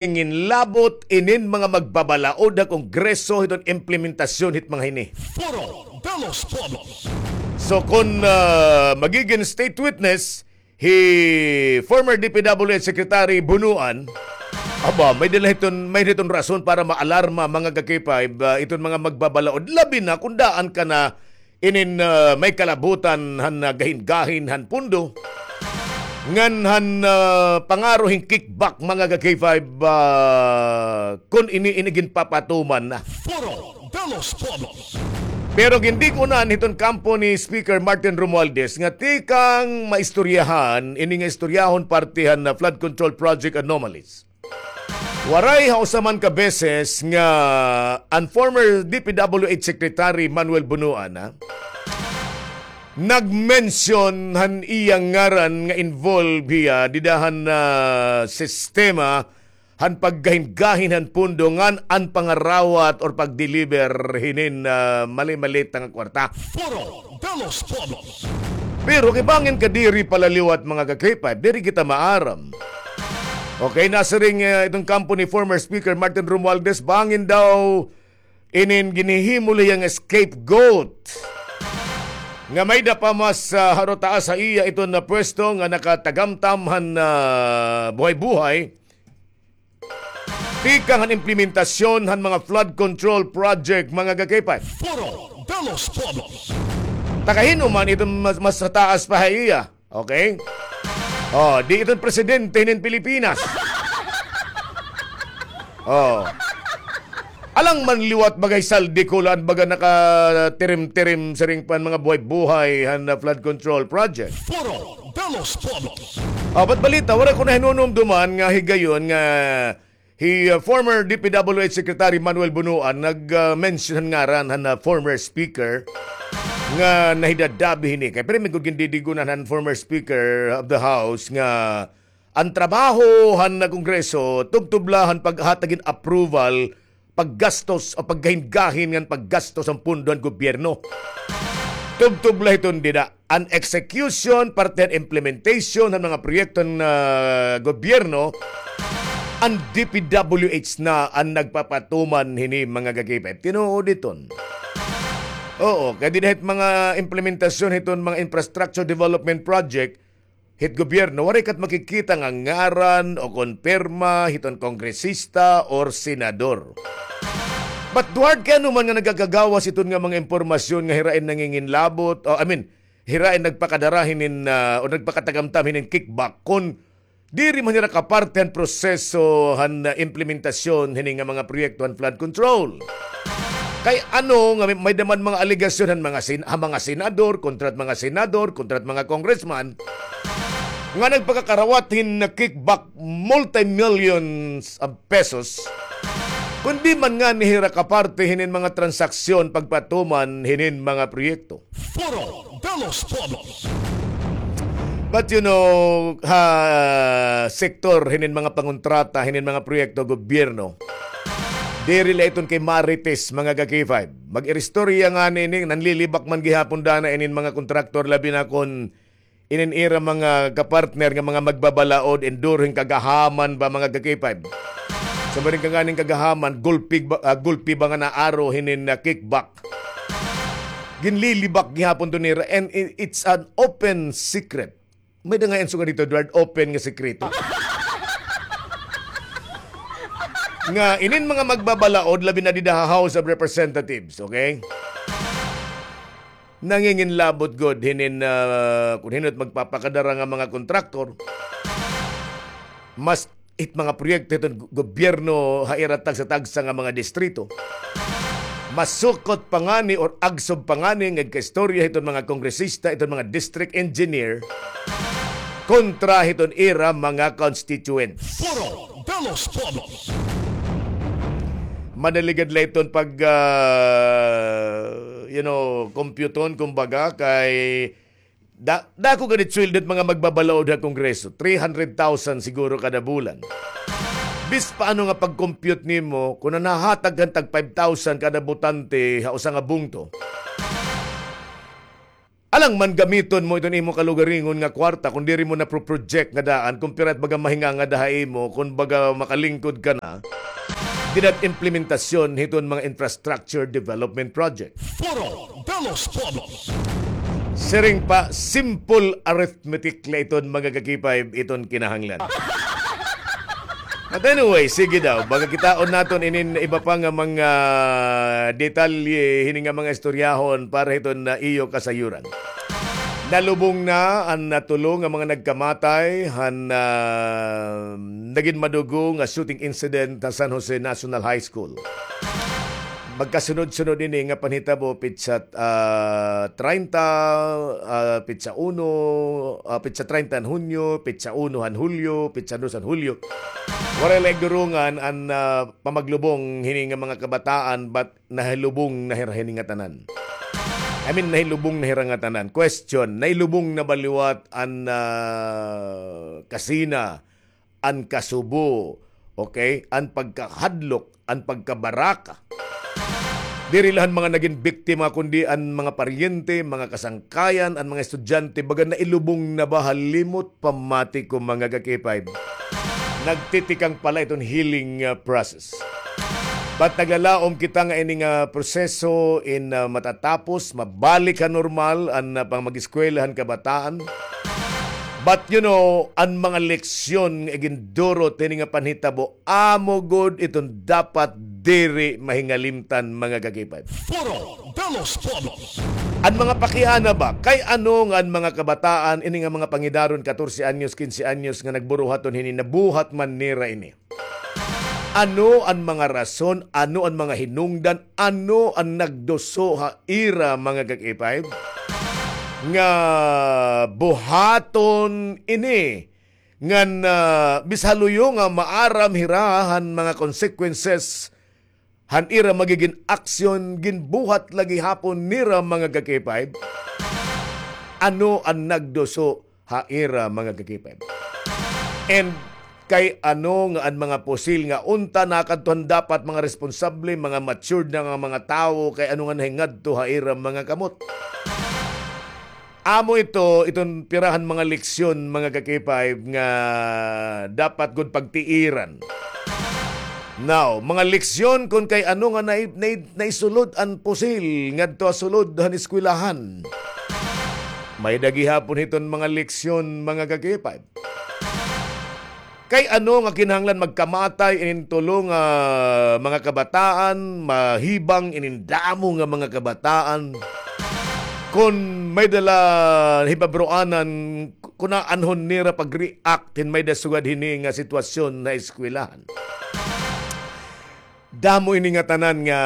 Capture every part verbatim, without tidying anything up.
nginlabot inin mga magbabalaod ha Kongreso hiton implementasyon hit mga hini. Foro de los Pueblos. So, kon, ah, magigin state witness hi former D P W H Secretary Bonoan, aba, may-ada la hiton, may-ada hiton rason para maalarma, mga ka-K five, ah, iton mga magbabalaod. Labi na kon daan ka na inin, ah, may kalabutan han, ah, gahin-gahin han pondo. Ngan han, ah, pangaro hin kickback, mga ka-K five, ah, kon ini, ini ginpapatuman na. Foro de los Pueblos. Pero gindig-unan hiton kampo ni Speaker Martin Romualdez nga tikang maistoryahan, ini nga istoryahon parte han, ah, flood control project anomalies. Waray ha usa man ka beses nga an former D P W H Secretary Manuel Bonoan, ha, nag-mention han iya ngaran nga involved hiya dida han, ah, sistema han paggahin-gahin han pondo ngan an pangarawat or pag-deliver hinin, ah, mali-malita nga kwarta. Foro de los Pueblos. Pero kay bangin ka diri pala liwat, mga ka-K five, diri kita maaram. Okay, nasiring, eh, iton kampo ni former Speaker Martin Romualdez, bangin daw inin ginhihimo la hiya nga scapegoat nga may-ada pa mas, ah, haro taas ha iya iton na pwesto nga nakatagamtam han, ah, buhay-buhay. Tikang han implementasyon han mga flood control project, mga ka-K five. Foro de los Pueblos. Ta kahin-o man iton mas, mas taas pa ha iya. Okay? Oh, di iton presidente hinin Pilipinas. Oh. Alang man liwat bagay saldi ko la an baga nakatirim-tirim siring pa an mga buhay-buhay han, ah, flood control project. Foro de los Pueblos. Ah, ba't balita, waray ko na hinunumduman nga higayon nga hi, ah, former D P W H Secretary Manuel Bonoan nag, ah, mention han ngaran han, ah, former speaker nga nahidadabi hini. Kay pirmi gud gindidig-unan han former speaker of the house nga an trabaho han, ah, Kongreso tubtob la han paghatag hin approval paggastos o paggahin-gahin ngan paggastos han pondo han gobyerno. Tubtob la hiton dida. An execution, parte han implementation han mga proyekto han, ah, gobyerno, an D P W H na an nagpapatuman hini, mga ka-K five. Tinuod iton. Oo, kay dida hit mga implementasyon hiton mga infrastructure development project, hit gobyerno, waray kat makikita nga ngaran o kon pirma hiton kongresista or senador. But Duarte, kay ano man nga nagakagawas hiton nga mga impormasyon nga hira in nanginginlabot, o, I mean, hira in nagpakadara hinin, ah, o nagpakatagamtam hinin kickback, kon diri man hira kaparte han proseso han, ah, implementasyon hini nga mga proyekto han flood control. Kay ano nga may, may-ada man mga alegasyon han mga sen-, ha mga senador, kontra hit mga senador, kontra hit mga congressman, nga nagpakakarawat hin kickback multi-millions of pesos, kon di man ngani hira kaparte hinin mga transaksyon pagpatuman hinin mga proyekto. Foro de los Pueblos. But you know, ha sektor hinin mga pangontrata, hinin mga proyekto gobyerno, diri la iton kay Marites, mga ka-K five. Mag-iristorya ngani ini, nanlilibak man gihapon dana inin mga kontraktor, labi na kon inin ira mga kapartner nga mga magbabalaod, enduro hin kagahaman ba, mga ka-K five. Sa maring kanganing kagahaman, gulpi ba, ah, gulpi ba nga naaro hinin, ah, kickback. Ginlilibak gihapon to nira, and i-, it's an open secret. May da nga answer ka dito, Edward, open nga sekreto. Nga, inin mga magbabalaod, labi na dida ha House of Representatives, okay? Nanginginlabot gud hinin, ah, kun hin-o it magpapakadara nga mga kontraktor. Mas it mga proyekto hiton gu-, gobyerno ha ira tagsa-tagsa nga mga distrito. Masukot pa ngani or agsob pa ngani nga igkaistorya hiton mga kongresista, iton mga district engineer, kontra hiton ira mga constituents. Foro de los Pueblos. Madali gad la iton pag, ah, you know, kompyuton, kumbaga, kay da-, dako gani sweldo hit mga magbabalaod ha Kongreso, three hundred thousand siguro kada bulan. Bis paano nga pag-compute nimo, kun nahatag ka hin tag five thousand kada botante ha usa nga bungto, Alangan man gamiton mo iton imo kalugaringon nga kwarta, kun diri mo na pro-project nga daan, kun pira it baga mahinga ngada ha imo, kun baga makalingkod ka na, dida it implementasyon hiton mga infrastructure development project. Foro de los Pueblos. Siring pa, simple arithmetic la iton mga ka-K five, iton kinahanglan. But anyway, sige daw. Baga kitaon naton inin iba pa nga mga detalye, hini nga mga istoryahon para hiton na iyo kasayuran. Nalubong na an, ah, tulo nga mga nagkamatay han, ah, nagin madugo nga shooting incident ha San Jose National High School. Magkasunod-sunod ini nga panhitabo, pitsa, ah, treinta, ah, pitsa uno, ah, pitsa treinta han Hunyo, pitsa uno han Hulyo, pitsa dos han Hulyo. Waray la igdurungan an, ah, pamaglubong hini nga mga kabataan, but nahilubong na hira hini nga tanan. I mean, nahilubong na hira nga tanan. Question, nahilubong na ba liwat an, ah, kasina, an kasubo, okay, an pagkahadlok, an pagkabaraka? Diri la han mga nagin biktima, kundi an mga paryente, mga kasangkayan, an mga estudyante, baga nailubong na ba ha limot pamati ko, mga ka-K five. Nagtitikang pa la iton healing, ah, process. But naglalaom kita nga ini nga proseso in, ah, matatapos, mabalik ha normal an, ah, pangmag-eskwela han kabataan. But, you know, an mga leksyon nga igindurot hini nga panhitabo, amo gud iton dapat diri mahingalimtan, mga ka-K five. Foro de los Pueblos. An mga pakiana ba, kay ano nga an mga kabataan, ini nga mga pangidaron, katorse anyos, kinse anyos, nga nagburuhaton hini, nabuhat man nira ini? Ano an mga rason, ano an mga hinungdan, ano an nagduso ha ira, mga ka-K five, nga buhaton ini ngan, ah, bis ha luyo nga maaram hira han mga consequences han ira magigin aksyon, ginbuhat la gihapon nira, mga ka-K five? Ano an nagduso ha ira, mga ka-K five? And kay ano nga an mga pusil nga unta nakadto han dapat mga responsable, mga matured na nga mga tawo, kay ano nga nahingadto ha ira mga kamot? Amo ito, iton pira han mga leksyon, mga ka-K five, nga dapat gud pagtiiran. Now, mga leksyon kun kay ano nga nai-, nai-, naisulod an pusil ngadto ha sulod han eskwelahan. May-ada gihapon hiton mga leksyon, mga ka-K five. Kay ano nga kinahanglan magkamatay inin tulo nga mga kabataan, mahibang inin damo nga mga kabataan? Kon may-ada la hibabroanan, kunaanhon nira pag-react hin may-ada sugad hini nga sitwasyon ha eskwelahan. Damo ini nga tanan nga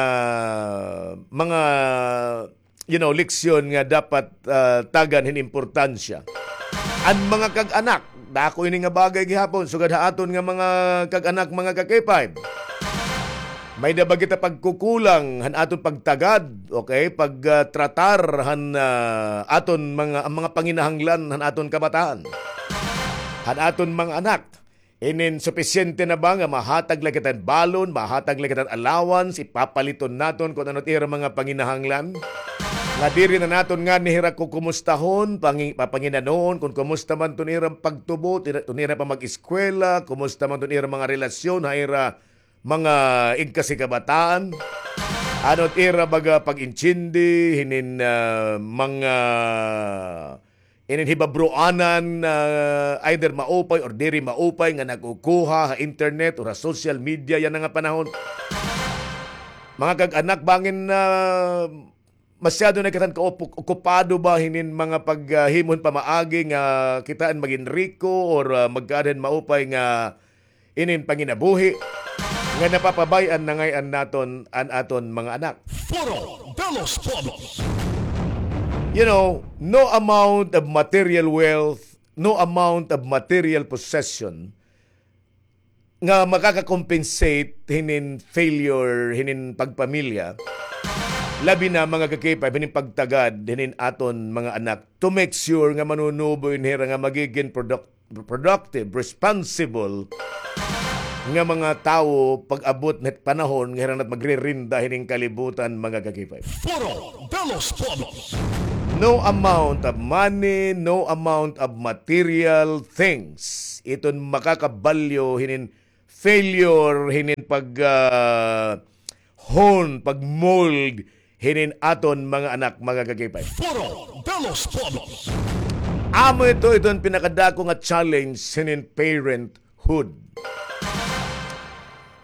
mga, you know, leksyon nga dapat, ah, tagan hin importansya. An mga kag-anak, dako ini nga bagay gihapon, sugad ha aton nga mga kag-anak, mga ka-K five. May-ada ba kita pagkukulang han aton pagtagad, okay, pag, ah, tratar han, ah, aton mga, ang mga panginahanglan han aton kabataan, han aton mga anak? Inin supisyente na ba nga mahatag la kita hin balon, mahatag la kita hin allowance, ipapaliton naton kun ano it ira mga panginahanglan? Nga diri na naton ngani hira kukumustahon, pangi-, papanginanoon kun kumusta man iton ira pagtubo, tira-, iton ira pamag-eskwela, kumusta man iton ira mga relasyon ha ira mga igkasi kabataan? Ano it ira baga pag-intindi hinin, ah, mga inin hibabroanan, ah, either maupay or diri maupay nga nakukuha ha internet or ha social media yana nga panahon. Mga kag-anak, bangin, ah, masyado na kita kaup-, okupado ba hinin mga paghimo hin pamaagi nga kita an magin riko or, ah, magkaada hin maupay nga inin panginabuhi nga napapabay-an na ngay-an naton an aton mga anak. Foro de los Pueblos. You know, no amount of material wealth, no amount of material possession nga makaka-compensate hinin failure, hinin pagpamilya, labi na mga ka-K five, hinin pagtagad hinin aton mga anak to make sure nga manunubo in hira nga magigin product-, productive, responsible nga mga tawo pag-abot na panahon nga hira na it magririnda hining kalibutan, mga ka-K five. Foro de los Pueblos. No amount of money, no amount of material things iton makakabalyo hinin failure hinin pag, ah, hon, pag-mold hinin aton mga anak, mga ka-K five. Foro de los Pueblos. Amo ito, ito an pinakadako nga challenge hinin parenthood.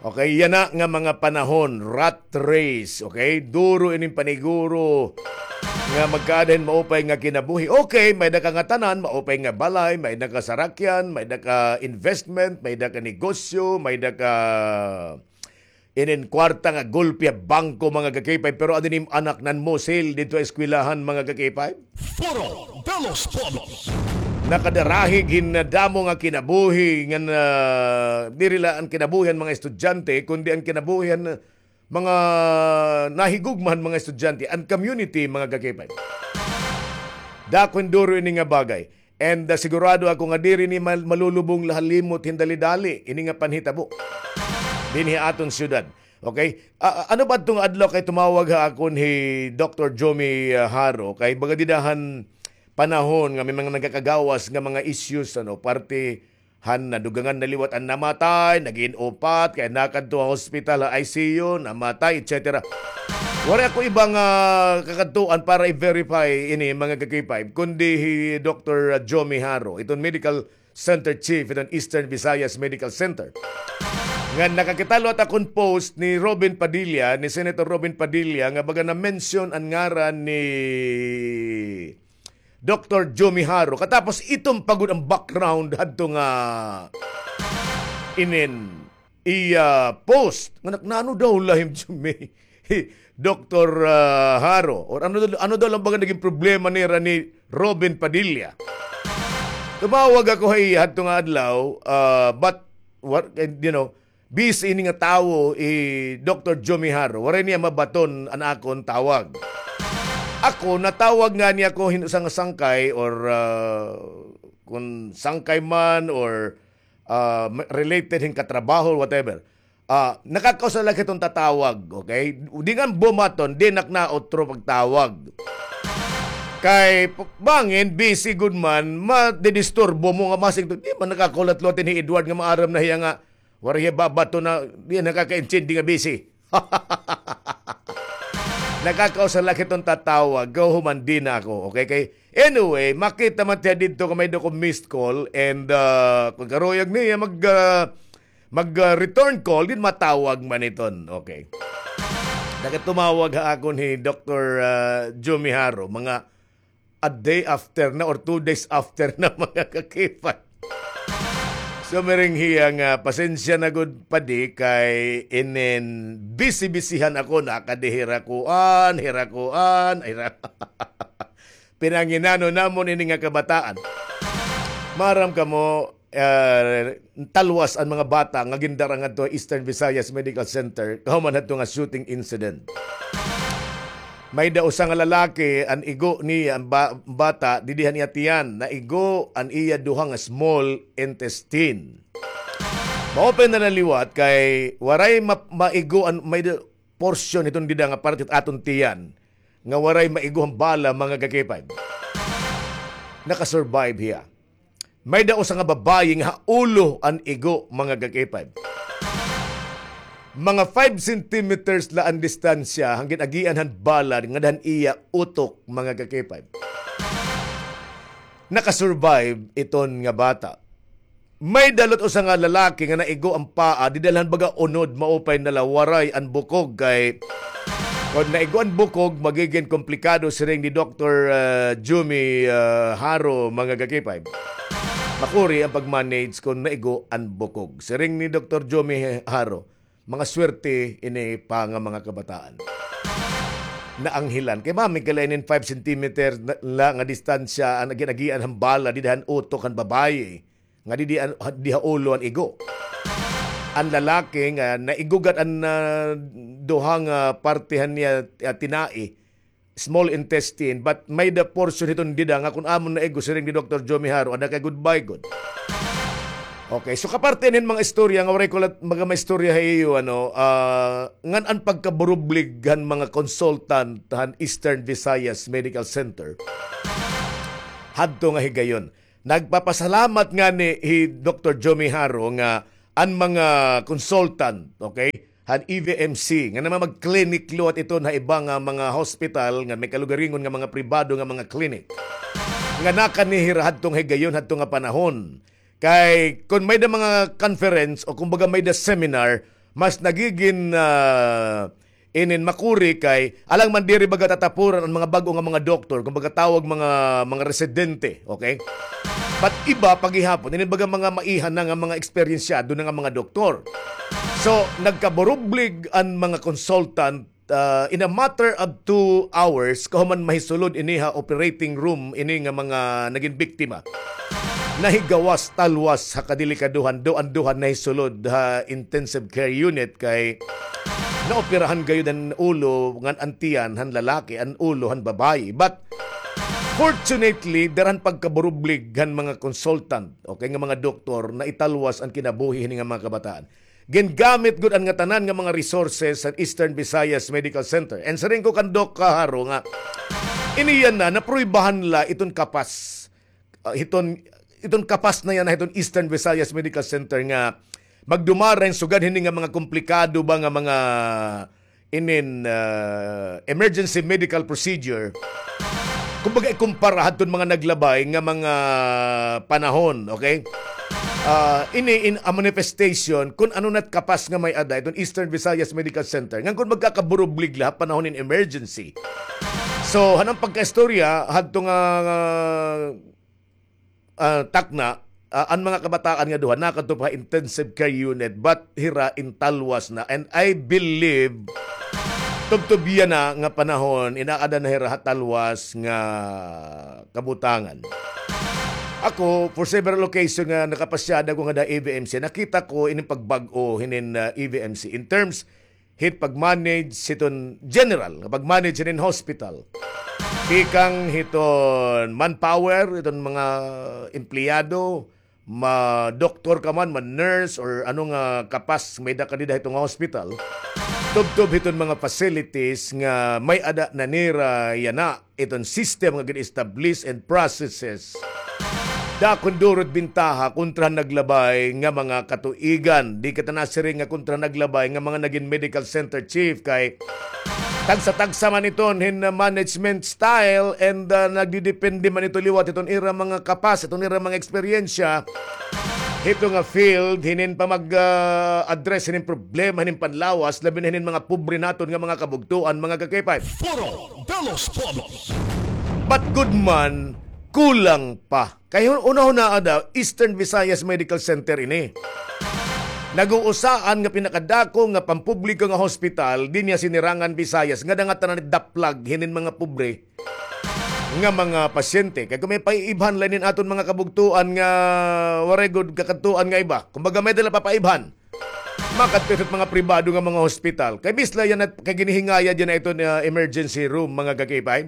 Okay, yana nga mga panahon, rat race, okay? Duro ining paniguro nga magkaada hin maupay nga kinabuhi. Okay, may-ada ka ngatanan, maupay nga balay, may-ada ka sarakyan, may-ada ka investment, may-ada ka negosyo, may-ada ka inin kwarta nga gulpi ha bangko, mga ka-K five, pero adi nim anak nanmusil didto ha eskwelahan, mga ka-K five. Foro de los Pueblos. Nakadarahig hin damo nga kinabuhi, nga na, diri la an kinabuhi han mga estudyante, kundi an kinabuhi han mga nahigugma han mga estudyante, an community, mga ka-K five. Dako hin duro ini nga bagay. And, ah, sigurado ako nga diri ini mal-, malulubong la ha limot hin dali-dali ini nga panhitabo dinhi ha aton syudad. Okay? Ah, ah, ano ba adto nga adlaw kay tumawag ha akon hi Doktor Jomi, ah, Haro? Kay baga dida han panahon nga may mga nagakagawas nga mga issues, ano, parte han nadugangan na liwat an namatay, nagin upat, kay nakadto ha hospital, ha I C U, namatay, et cetera. Waray ako iba nga kakadtuan para i-verify ini, mga ka-K five, kundi hi Doktor Jomi Haro, iton medical center chief iton Eastern Visayas Medical Center. Nga nakakita liwat akon post ni Robin Padilla, ni Senator Robin Padilla, nga baga na-mention an ngaran ni Doktor Jomi Haro. Katapos iton pa gud an background hadto nga inin iya post. Nga nak-, nano daw la hin Jomi, hi Doktor, ah, Haro? Or ano daw, ano daw la baga nagin problema nira ni Robin Padilla? Tumawag ako ha iya hadto nga adlaw, ah, but, what, eh, you know, busy ini nga tawo, hi Doktor Jomi Haro. Waray niya mabaton an akon tawag. Ako, natawag ngani ako hin usa nga sangkay or, ah, kun sangkay man or, ah, ma-, related hin katrabaho, whatever. Ah, nakakausap la hiton tatawag, okay? Di nga bumaton, di nak na otro pagtawag. Kay, p-, bangin, busy gud man, madidisturbo mo nga masig to. Di man nakakahulat-hulat hi Edward nga maaram na hiya nga, waray hiya babaton na, di nakakaintindi nga busy. Nakakausap la hiton tatawag, kahuman di na ako, okay? Kay, anyway, makita man tiya didto nga may-ada ko missed call, and, ah, kun karuyag niya mag, ah, mag, ah, return call, din matawag man iton. Okay. Nakatumawag ha akon hi Doktor, ah, Jomi Haro, mga a day after na or two days after na, mga ka-K five. So, miring hiya nga, pasensya na gud, padi, kay inin busy-busyhan ako, nakadi hira kuan, hira kuan, hira. Pinanginano namon ini nga kabataan. Maaram kamo, ah, talwas an mga bata nga gindara ngadto ha Eastern Visayas Medical Center, kahuman hadto nga shooting incident. May-ada usa nga lalaki, an igo niya, an ba-, bata, didi han iya tiyan, naigo an iya duha nga small intestine. Maupay na la liwat kay waray ma-, maigo an, may-ada portion hiton dida nga parte hit aton tiyan nga waray maigo han bala, mga ka-K five. Naka-survive hiya. May-ada usa nga babaye nga ha ulo an igo, mga ka-K five. Mga five centimeters la an distansya han gin-agian han bala ngada han iya utok, mga ka-K five. Naka-survive iton nga bata. May-ada liwat usa nga lalaki nga naigo an paa, dida la han baga unod, maupay na la, waray an bukog kay kon naigo an bukog, magigin komplikado, siring ni Doktor, ah, Jumi, ah, Haro, mga ka-K five. Makuri an pag-manage kon naigo an bukog. Siring ni Doktor Jumi Haro, mga swerte ini pa nga mga kabataan. Naanghilan. Kay mami, kay la inin five centimeter na, la nga distansya an gin-agian han bala, dida han utok han babaye. Nga di, di, an-, di ha ulo an igo. An lalaki nga naigugat an, ah, duha nga parte han iya, ah, tinai, small intestine, but may-ada portion hiton dida nga kon amon naigo, siring ni Doktor Jumi Haro, ada kay goodbye gud. Okay, so kaparte hin mga istorya nga waray ko la baga maistorya ha iyo, ano, ah, ngan an pagkaburublig han mga consultant han Eastern Visayas Medical Center hadto nga higayon. Nagpapasalamat ngani hi Doktor Jomi Haro nga an mga consultant, okay, han E V M C, nga naman mag-clinic liwat iton ha iba nga mga hospital, nga may kalugaringon nga mga pribado nga mga clinic, nga nakanhi hira hadto nga higayon, hadto nga panahon. Kay kon may-ada mga conference o kumbaga may-ada seminar, mas nagigin, ah, inin makuri kay alang man diri baga tatapuran an mga bag-o nga mga doktor, kumbaga tawag mga, mga residente, okay? But iba pa gihapon, inin baga mga maiha na nga mga eksperyensyado na nga mga doktor. So, nagkaburublig an mga consultant, ah, in a matter of two hours, kahuman mahisulod ini ha operating room ini nga mga nagin biktima. Nahigawas talwas ha kadelikadohan, duha an duha nahisulod ha intensive care unit kay naoperahan gayod an ulo ngan an tiyan han lalaki, an ulo han babayi. But fortunately, dara han pagkaburublig han mga consultant, okay, nga mga doktor, naitalwas an kinabuhi hini nga mga kabataan. Gingamit gud an ngatanan nga mga resources han Eastern Visayas Medical Center. And siring ko kan Doc Haro nga, ini yana, napruibahan la iton kapas. Ah, hiton, iton kapas na yana, hiton Eastern Visayas Medical Center nga magdumara hin sugad hini nga mga komplikado ba nga mga inin, ah, emergency medical procedure. Kumbaga, ikumpara hadton mga naglabay nga mga panahon, okay? Ah, ini in a manifestation kun ano na't kapas nga may-ada iton Eastern Visayas Medical Center. Ngan kun magkakaburublig la ha panahon in emergency. So, han an pagkaistorya, hadto nga, ah, takna, ah, an mga kabataan nga duha nakadto pa ha intensive care unit, but hira intalwas na. And I believe, tubtob yana nga panahon, inaada na hira ha talwas nga kabutangan. Ako, for several occasion nga nakapasyada ko ngada E V M C, nakita ko ini pagbag-o hinin, ah, E V M C in terms hit pag-manage hiton general nga pag-manage hinin hospital. Tikang hiton manpower, hiton mga empleyado, ma doktor ka man, ma nurse, or ano nga kapas may-ada ka dida hiton nga hospital. Tubtob hiton mga facilities nga may-ada na nira yana iton system nga gin-establish and processes. Dakon duro it bintaha kontra naglabay nga mga katuigan. Di kita nasiring nga kontra naglabay nga mga nagin medical center chief kay tagsa-tagsa man iton hin management style and, ah, nagdidepende man ito liwat iton ira mga kapas, iton ira mga eksperyensya hito nga field hinin pamag, ah, address hinin problema hinin panlawas, labi na hinin mga pobre naton nga mga kabugtoan, mga ka-K five. Foro de los Pueblos. But good man, kulang pa. Kay hun-, hunahunaa daw, Eastern Visayas Medical Center ini. Nag-uusaan nga pinakadako nga pampubliko nga hospital dinhi ha Sinirangan Visayas, ngada nga tanan daplag hinin mga pobre nga mga pasyente. Kay kon may paiibhan la inin aton mga kabugtoan nga waray gud kakadtuan nga iba. Kumbaga, may-ada la papaibhan. Makadto hit mga pribado nga mga hospital. Kay misla yana, kay ginhihingayad yana iton, ah, emergency room, mga ka-K five.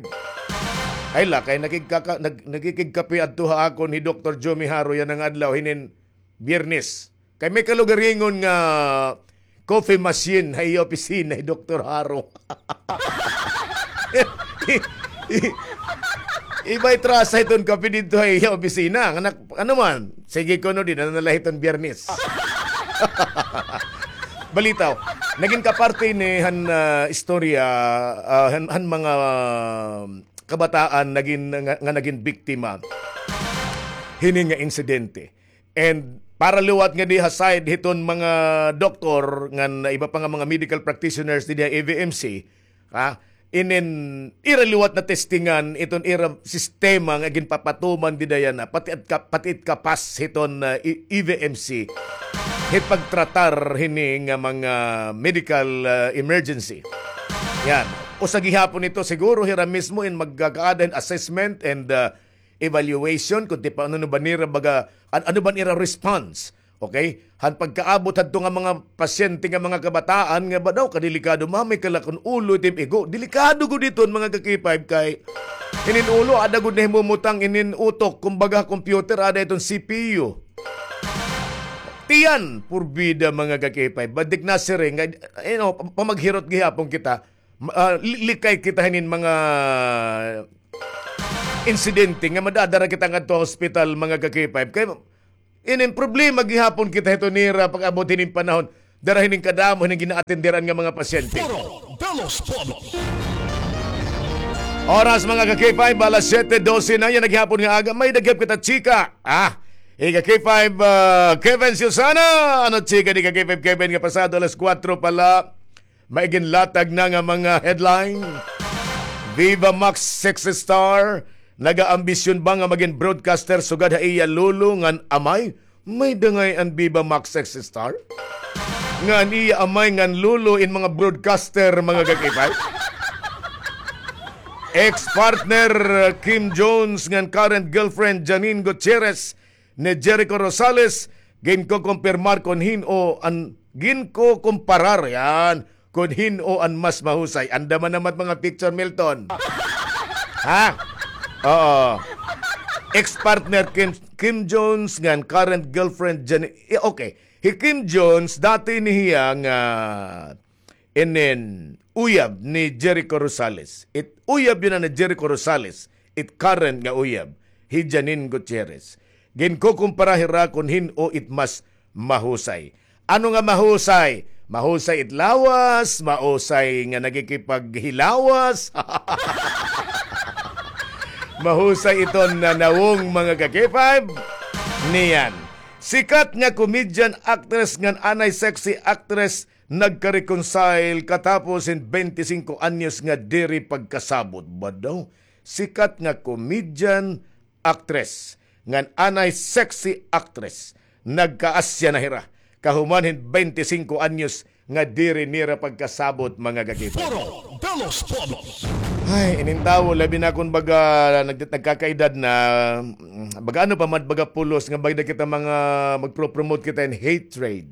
Ay la, kay nakigkaka-, nag-, nakikigkape adto ha akon hi Doktor Jomi Haro yana nga adlaw hinin Biyernes. Kay may kalugaringon nga coffee machine ha iya opisina hi Doktor Haro. I-, i-, ibay trasa hiton kape didto ha iya opisina. Nga nak-, ano man, sige kuno, dida na la hiton Biyernes. Balitaw, nagin kaparte ini han, ah, istorya, ah, han, han mga kabataan nagin, nga, nga nagin biktima hini nga insidente. And para liwat ngadi ha side hiton mga doktor ngan iba pa nga mga medical practitioners didi ha E V M C, ha, inin ira liwat natestingan iton ira sistema nga ginpapatuman dida yana, pati it ka-, pati it kapas hiton, ah, E-, E V M C hit pagtratar hini nga mga medical, ah, emergency. Yan. Usa gihapon ito, siguro hira mismo in magkakaada hin assessment and, ah, evaluation, kun ti paano ba nira baga, an-, ano ba nira response? Okay? Han pagkaabot hadto nga mga pasyente nga mga kabataan nga ba daw kadelikado, mamay ka la kun ulo it im igo. Delikado gud iton, mga ka-K five, kay inin ulo, ada gud nahimumutang inin utok, kumbaga computer, ada iton C P U. Iyan, purbida, mga ka-K five. Badik na siring nga, you know, pa-, pamaghirot gihapon kita, ma-, ah, li-, likay kita hinin mga insidente nga madadara kita ngadto ha hospital, mga ka-K five. Kay inin problema gihapon kita hito nira pag-abot hinin panahon, dara hinin kadamo hinin ginaatenderan nga mga pasyente. Foro de los Pueblos. Oras, mga ka-K five, alas siyete dose na, yana gihapon nga aga, may-ada gihap kita chika. Ah, ika-K five, ah, Kevin Susana, ano chika ni ika-K five Kevin nga pasado alas kuwatro pa la, may ginlatag na nga mga headline. Viva Max sexy star, nagaambisyon ba nga magin broadcaster sugad ha iya lolo ngan amay? May-ada ngay-an Viva Max sexy star? Ngan iya amay ngan lolo in mga broadcaster, mga ka-K five. Ex-partner Kim Jones ngan current girlfriend Janine Gutierrez ni Jericho Rosales, ginkukumpirmar kon hin-o an, ginkukumparar, yan, kon hin-o an mas mahusay. Andam man naman mga picture, Milton. Ha? Oo. Ex-partner Kim, Kim Jones ngan current girlfriend Jan-, eh, okay. Hi Kim Jones, dati ini hiya nga inin uyab ni Jericho Rosales. It uyab yana ni Jericho Rosales, it current nga uyab, hi Janine Gutierrez. Ginkukumpara hira kon hin-o it mas mahusay. Ano nga mahusay? Mahusay it lawas, mahusay nga nagikipaghilawas. Mahusay iton nanawong, mga ka-K five. Niyan. Sikat nga comedian, actress ngan anay sexy actress nagka-reconcile katapos hin bente singko anyos nga diri pagkasabot. Ba daw? Sikat nga comedian, actress, ngan anay sexy actress, nagkaasya na hira kahuman hin bente singko anyos nga diri nira pagkasabot, mga ka-K five. Foro de los Pueblos. Ay, inin tawo, labi na kon baga nag-, nagkakaedad na, mm, baga ano pa man, baga pulos nga baga kita mga magpro-promote kita hin hatred.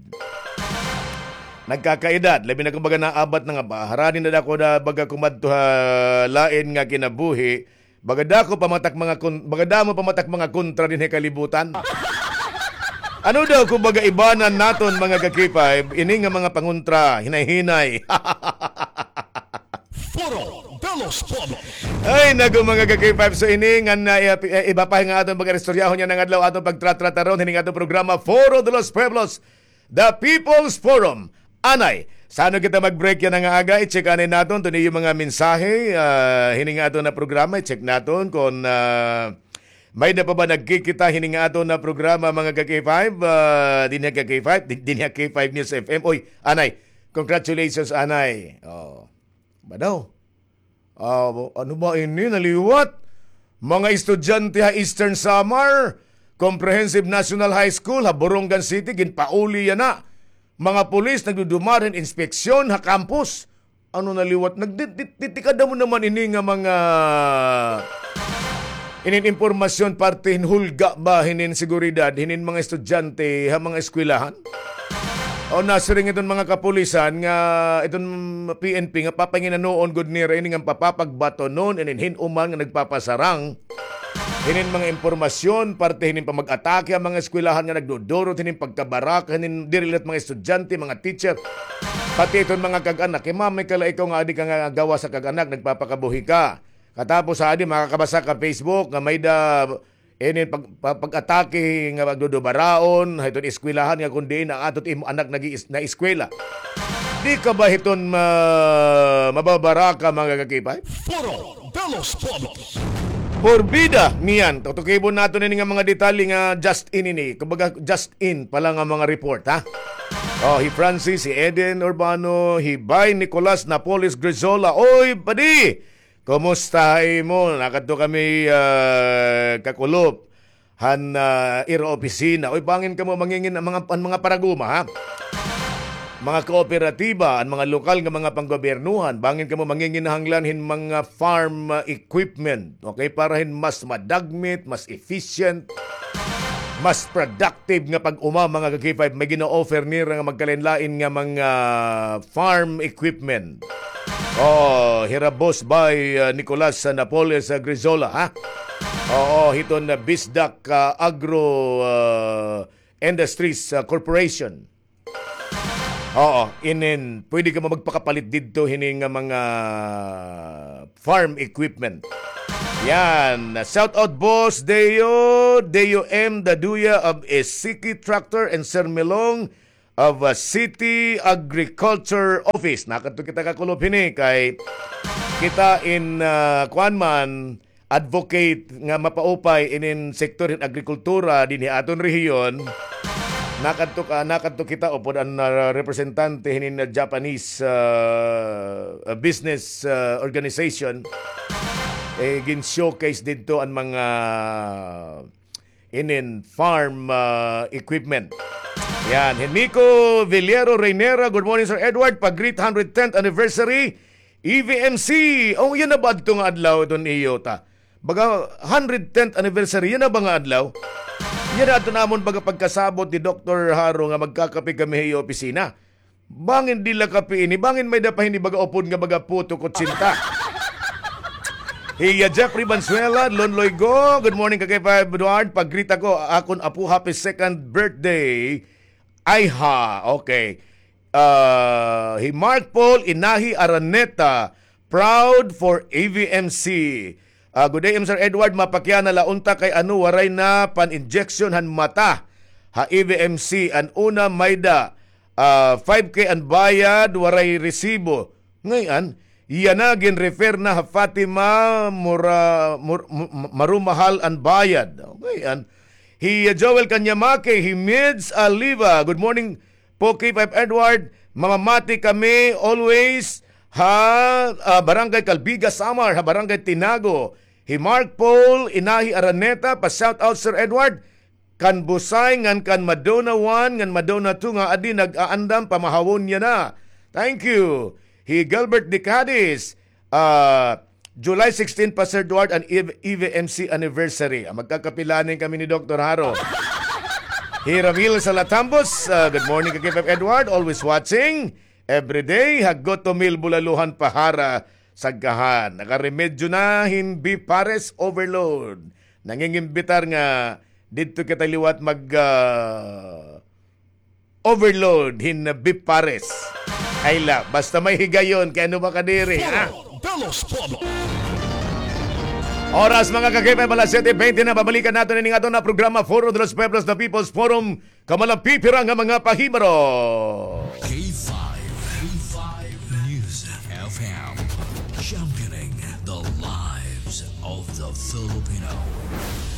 Nagkakaedad, labi na kon baga naabat na nga ba, harani na dako na baga kumadto ha lain nga kinabuhi, baga dako pa man tak mga kon-, baga damo pa man tak mga kontra dinhi ha kalibutan. Ano daw kon baga ibanan naton, mga ka-K five, ini nga mga pangontra, hinay-hinay. Foro de los Pueblos. Ay, naku, mga ka-K five, so ini nga na, eh, eh, iba pa nga aton pag-istoryahon yana nga adlaw, aton pagtratrataron hini nga aton programa, Foro de los Pueblos, The People's Forum. Anay, sa ano kita mag-break yana nga aga, i-check anay naton, tuni iyo mga mensahe, ah, hini nga aton na programa, i-check naton kon, ah, may-ada pa ba nagkikita hini nga aton na programa, mga ka-K five, ah, dinhi ha K five, di-, dinhi ha K five News F M. Oy, anay, congratulations, anay. Oh. Ba daw? Ah, ano ba ini? Naliwat. Mga estudyante ha Eastern Samar Comprehensive National High School ha Borongan City, ginpauli yana. Mga pulis nagdudumar hin inspeksyon ha campus. Ano naliwat? Nagdi-, di-, di-, tikada mo naman ini nga mga inin impormasyon parte hin hulga ba hinin seguridad, hinin mga estudyante ha mga eskwelahan? O nasiring iton mga kapulisan nga iton P N P nga papanginanoon gud nira ini nga papapagbatonon inin hin-o man nga nagpapasarang hinin mga impormasyon parte hinin pamag-atake ha mga eskwelahan nga nagdudurot hinin pagkabaraka hinin diri la it mga estudyante, mga teacher, pati iton mga kag-anak. Kay mamay ka la ikaw nga adi ka nga gawas ha kag-anak, nagpapakabuhi ka. Katapos ha adi makakabasa ka Facebook nga may-ada inin pag-, pa-, pag-atake nga pagdudubaraon ha iton eskwelahan nga kon diin na ato it imo anak nag-iis-, naeskwela. Di ka ba hiton ma-, mababaraka, mga ka-K five? Foro de los Pueblos. Porbida, niyan, tutukibon naton ini nga mga detalye nga just in ini. Kumbaga, just in pa la nga mga report, ha? Oh, hi Francis, hi Eden Urbano, hi Bay Nicolas Napoles Grizola. Oy, padi! Kumusta ha imo? Nakadto kami, ah, kakulop han, ah, ira opisina. Oy, bangin kamo mangingin-, mga, an mga paraguma, ha? Mga kooperatiba, an mga lokal nga mga panggobyernohan, bangin kamo manginginahanglan hin mga farm, ah, equipment, okay? Para hin mas madagmit, mas efficient, mas productive nga pag-uma, mga ka-K five, may gina-offer nira nga magkalain-lain nga mga farm equipment. Oh, hira boss by, uh, Nicolas, uh, Napoles, uh, Grizola, ha? Oo, hiton, uh, Bisdak, uh, Agro, uh, Industries, ah, Corporation. Oo, inin, pwede ka magpakapalit didto hini nga mga farm equipment. Yan. Shout out, Boss Deo, Deo M Daduya of Esiki Tractor, and Sir Milong of, uh, City Agriculture Office. Nakadto kita kakulop hini kay kita in, uh, kuan man, advocate nga mapaupay inin sektor hin agrikultura dinhi aton rehiyon. Nakadto ka, nakadto kita upod an, uh, representante hinin, uh, Japanese, uh, uh, business, uh, organization. Eh, gin-showcase didto an mga inin farm, ah, equipment. Yan. Hi Nico Villero Reynera, "Good morning, Sir Edward. Pag-greet hundred tenth anniversary, E V M C." Oh, yana ba adto nga adlaw iton iyo ta? Baga hundred tenth anniversary, yana ba nga adlaw? Yana adto namon baga pagkasabot ni Doktor Haro nga magkakape kami ha iyo opisina. Bangin diri la kape ini, bangin may-ada pa hini baga upod nga baga puto kutsinta. Hi, uh, Jeffrey Valenzuela, Lonloy Go, "Good morning, Ka K five Edward. Pag-greet ako, akon apo, happy second birthday." Ay ha, okay. Uh, hi Mark Paul Inahi Araneta, "Proud for E V M C." Ah, good day, Sir Edward. Mapakiana la unta kay ano, waray na pan-injection han mata ha E V M C. An una, may-ada, ah, five K an bayad, waray resibo. Ngay-an, yana gin-refer na ha Fatima, mura, mur-, m-, m-, marumahal an bayad. Ngay-an, hi Joel Kanyamake, hi Mids Aliva. "Good morning po, K five Edward. Mamamati kami always ha, ah, Barangay Calbiga, Samar, ha Barangay Tinago." Hi Mark Paul Inahi Araneta, pa-shout out, Sir Edward, kan Busay ngan kan Madonna one ngan Madonna two nga adi nag-aandam, pamahawon yana. Thank you. Hi Gilbert de Cadiz, ah, "July sixteen pa, Sir Edward, an E V M C anniversary." Ah, magkakapilanin kami ni Doktor Haro. Hi Ramil Salatambos, ah, "Good morning, Ka K five Edward. Always watching. Every day, ha Goto Mill, Bulaluhan, Pahara, Sagkahan. Nakaremedyo na hin beef pares overload. Nangingimbitar nga didto kita liwat mag, ah, overload hin beef pares." Ay la, basta may higayon, kay ano ba kadiri, ha? Foro de los Pueblos. Oras, mga ka-K five, alas siyete bente na, babalikan naton ini nga aton nga programa, Foro de los Pueblos, the People's Forum, kamalang pipira nga mga pahibaro. K five, K five News F M, championing the lives of the Filipino.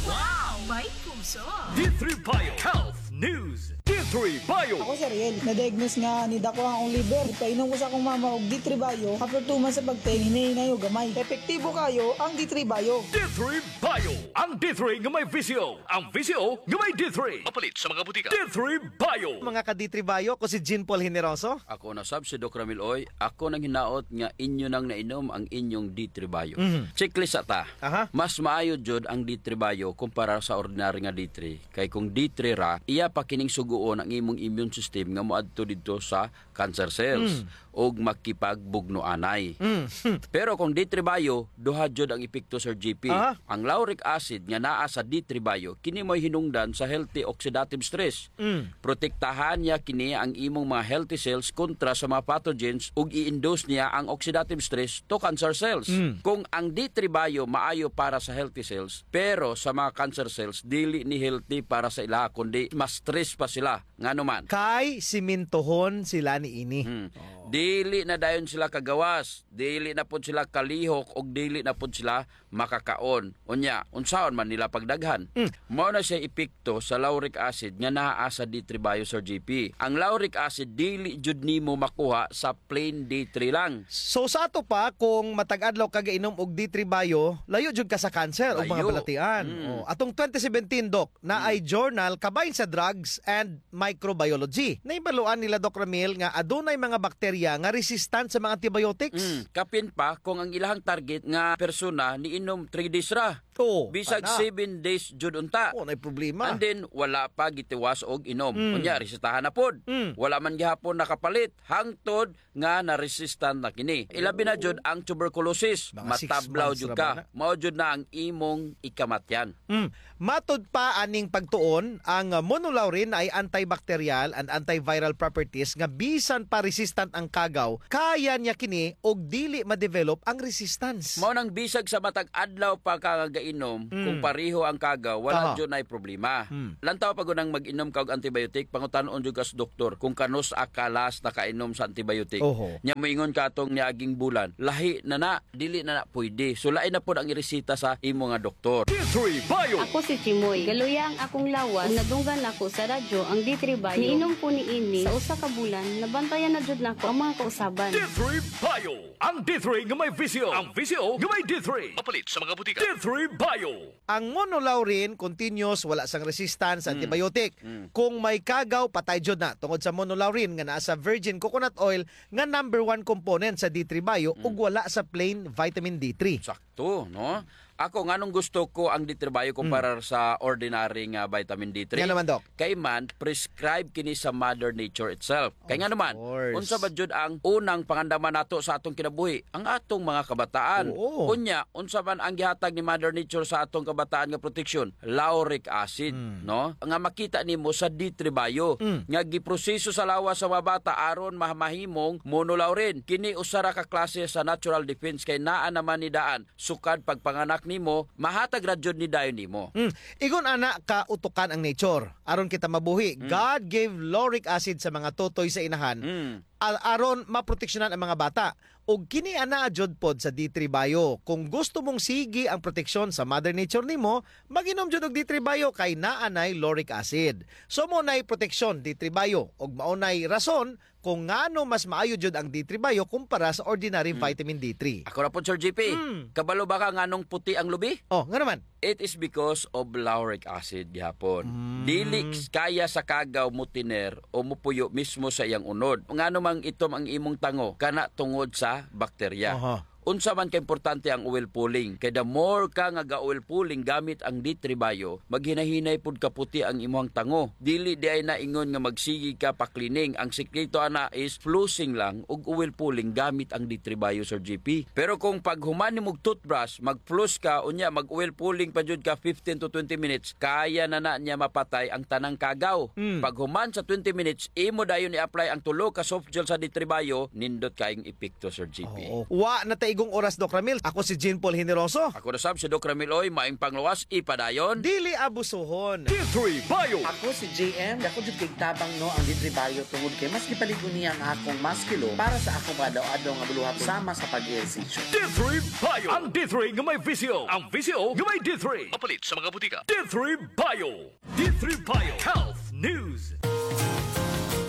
Wow! May puso! D three Bio Health News. D three Bio. Ako si Ariel. Na-diagnose nga nidako an akon liver. Ipainom ko sa akon mama og D three Bio. After two months sa pag-take, hinay-hinay og gamay. Epektibo kaayo ang D three Bio. D three Bio. Ang D three nga may V C O. Ang V C O nga may D three. Mapalit sa mga butika. D three Bio. Mga ka-D three Bio, ako si Jean Paul Generoso. Ako na sab si Doc Ramil Oy. Ako nang hinaot nga inyo nang nainom ang inyong D three Bio. Mhm. Checklist sa ta. Aha. Mas maayo jud ang D three Bio kumpara sa ordinary nga D three. Kay kung D three ra, iya pa kining sugoon ang imong immune system nga moadto didto sa cancer cells Mm. ug makipagbugno anay. Mm. Pero kung D three Bio, duha jud ang epekto, Sir G P. Aha. Ang lauric acid nga naa sa D three Bio, kini mo'y hinungdan sa healthy oxidative stress. Mm. Protektahan niya kini ang imong mga healthy cells kontra sa mga pathogens ug i-induce niya ang oxidative stress to cancer cells. Mm. Kung ang D three Bio maayo para sa healthy cells, pero sa mga cancer cells, dili ni healthy para sa ila, kundi ma-stress pa sila. Ngano man? Kay simintohon sila niini. Hmm. Oh. Dili na dayon sila kagawas, dili na pod sila kalihok, ug dili na pod sila makakaon. Unya, unsaon man nila pagdaghan? Mm. Mao na siya epekto sa lauric acid nga naa sa D three Bio, Sir G P. Ang lauric acid dili jud nimo makuha sa plain D three lang. So, sa ato pa, kung matag adlaw ka gainom og D three Bio, layo jud ka sa cancer o mga Layo. balatian. Mm. Oh, atong twenty seventeen, Doc, naay Mm. journal kabahin sa Drugs and Microbiology. Nahibaluan nila, Doc Ramil, nga adunay mga bakterya nga resistant sa mga antibiotics. Mm, kapin pa kung ang ilahang target nga persona niinom three days ra. Bisag seven days jud unta. Oh, naay problema. And then, wala pa gitiwas og inom. Mm. Unya, resetahan na pod. Mm. Wala man gihapon nakapalit. Hangtod nga na-resistant na kini. Ilabi na jud ang tuberculosis. Matablaw jud ka. Mao jud na ang imong ikamatyan. Mm. Matud pa aning pagtuon, ang, ah, monolaurin ay antibacterial and antiviral properties nga bisan pa resistant ang kagaw, kaya niya kini og dili ma-develop ang resistance. Mao nang bisag sa matag adlaw pa ka nga gainom, kung pareho ang kagaw, wala jud nay problema. Lantaw pa gud ang mag-inom ka og antibiotic, pangutan-on jud ka sa doktor kung kanus-a ka last nakainom sa antibiotic. Oho. Nya moingon ka atong niaging bulan, lahi na na, dili na na pwede. So, lain na pod ang ireseta sa imo nga doktor. D three Bio. Ako si Chimoy. Galuya ang akong lawas. Ug nadunggan ako sa radyo ang D three Bio. Niinom ko niini sa usa ka bulan, nabantayan na jud nako ang mga kausaban. D three Bio. Ang D three nga may visyo. Ang visyo nga may D three. Mapalit sa mga butika. D three Bio. Ang monolaurin, continuous, wala sang resistance sa antibiotic. Mm. Kung may kagaw, patay jud na. Tungod sa monolaurin nga naa sa virgin coconut oil nga number one component sa D three Bio ug wala sa plain vitamin D three. Sakto, no? Ako, nganong gusto ko ang D three Bio kumpara sa ordinary nga vitamin D three? Ngano man, Doc? Kay man, prescribe kini sa Mother Nature itself. Kay ngano man, unsa ba jud ang unang pangandaman nato sa atong kinabuhi? Ang atong mga kabataan. Oo. Unya, unsa man ang gihatag ni Mother Nature sa atong kabataan nga proteksyon? Lauric acid, no? Nga makita nimo sa D three Bio, nga giproseso sa lawas sa mga bata aron ma-, mahimong monolaurin. Kini usa ra ka klase sa natural defense kay naa naman ni daan sukad pagpanganak nimo, mahatag ra jud ni dayon nimo. Mm. Igon ana ka utukan ang nature. Aron kita mabuhi, God gave lauric acid sa mga totoy sa inahan, a-, aron maproteksyonan ang mga bata. Ug kini ana jud pod sa D three Bio. Kung gusto mong sige ang proteksyon sa Mother Nature nimo, mag-inom jud og D three Bio kay naa nay lauric acid. So, mao nay proteksyon, D three Bio. Ug mao nay rason kung ngano mas maayo jud ang D three Bio kumpara sa ordinary vitamin D three. Ako na pod, Sir G P. Mm. Kabalo ba ka nganong puti ang lubi? Oh, ngano man? It is because of lauric acid gihapon. Mm. Dili kaya sa kagaw motiner o mopuyo mismo sa iyang unod. Ngano mang itom ang imong tango? Kana tungod sa bakterya. Aha. Unsa man ka importante ang oil pulling? Kay the more ka nga ga-oil pulling gamit ang D three Bio, maghinahinay pud kaputi ang imuhang tango. Dili diay na ingon nga magsige ka pa-cleaning. Ang sikreto ana is flossing lang ug oil pulling gamit ang D three Bio, Sir G P. Pero kung paghuman nimog toothbrush, mag-floss ka, unya mag-oil pulling pa jud ka fifteen to twenty minutes, kaya na na niya mapatay ang tanang kagaw. Mm. Paghuman sa twenty minutes, imo dayon i-apply ang tulo ka soft gel sa D three Bio, nindot kayong epekto, Sir G P. Oo. Wa na ta igong oras, Doc Ramil. Ako si Jean Paul Generoso. Ako na sab si Doc Ramil Oy, maayong panglawas, ipadayon. Dili abusuhon. D three Bio. Ako si J M. Dako jud kay tabang, no, ang D three Bio tungod kay mas gipaligo niya ang akong musculo para sa akong adlaw-adlaw nga buluhaton sama sa pag-ehersisyo. D three Bio. Ang D three nga may visyo. Ang visyo nga may D three. Mapalit sa mga butika. D three Bio. D three Bio Health News.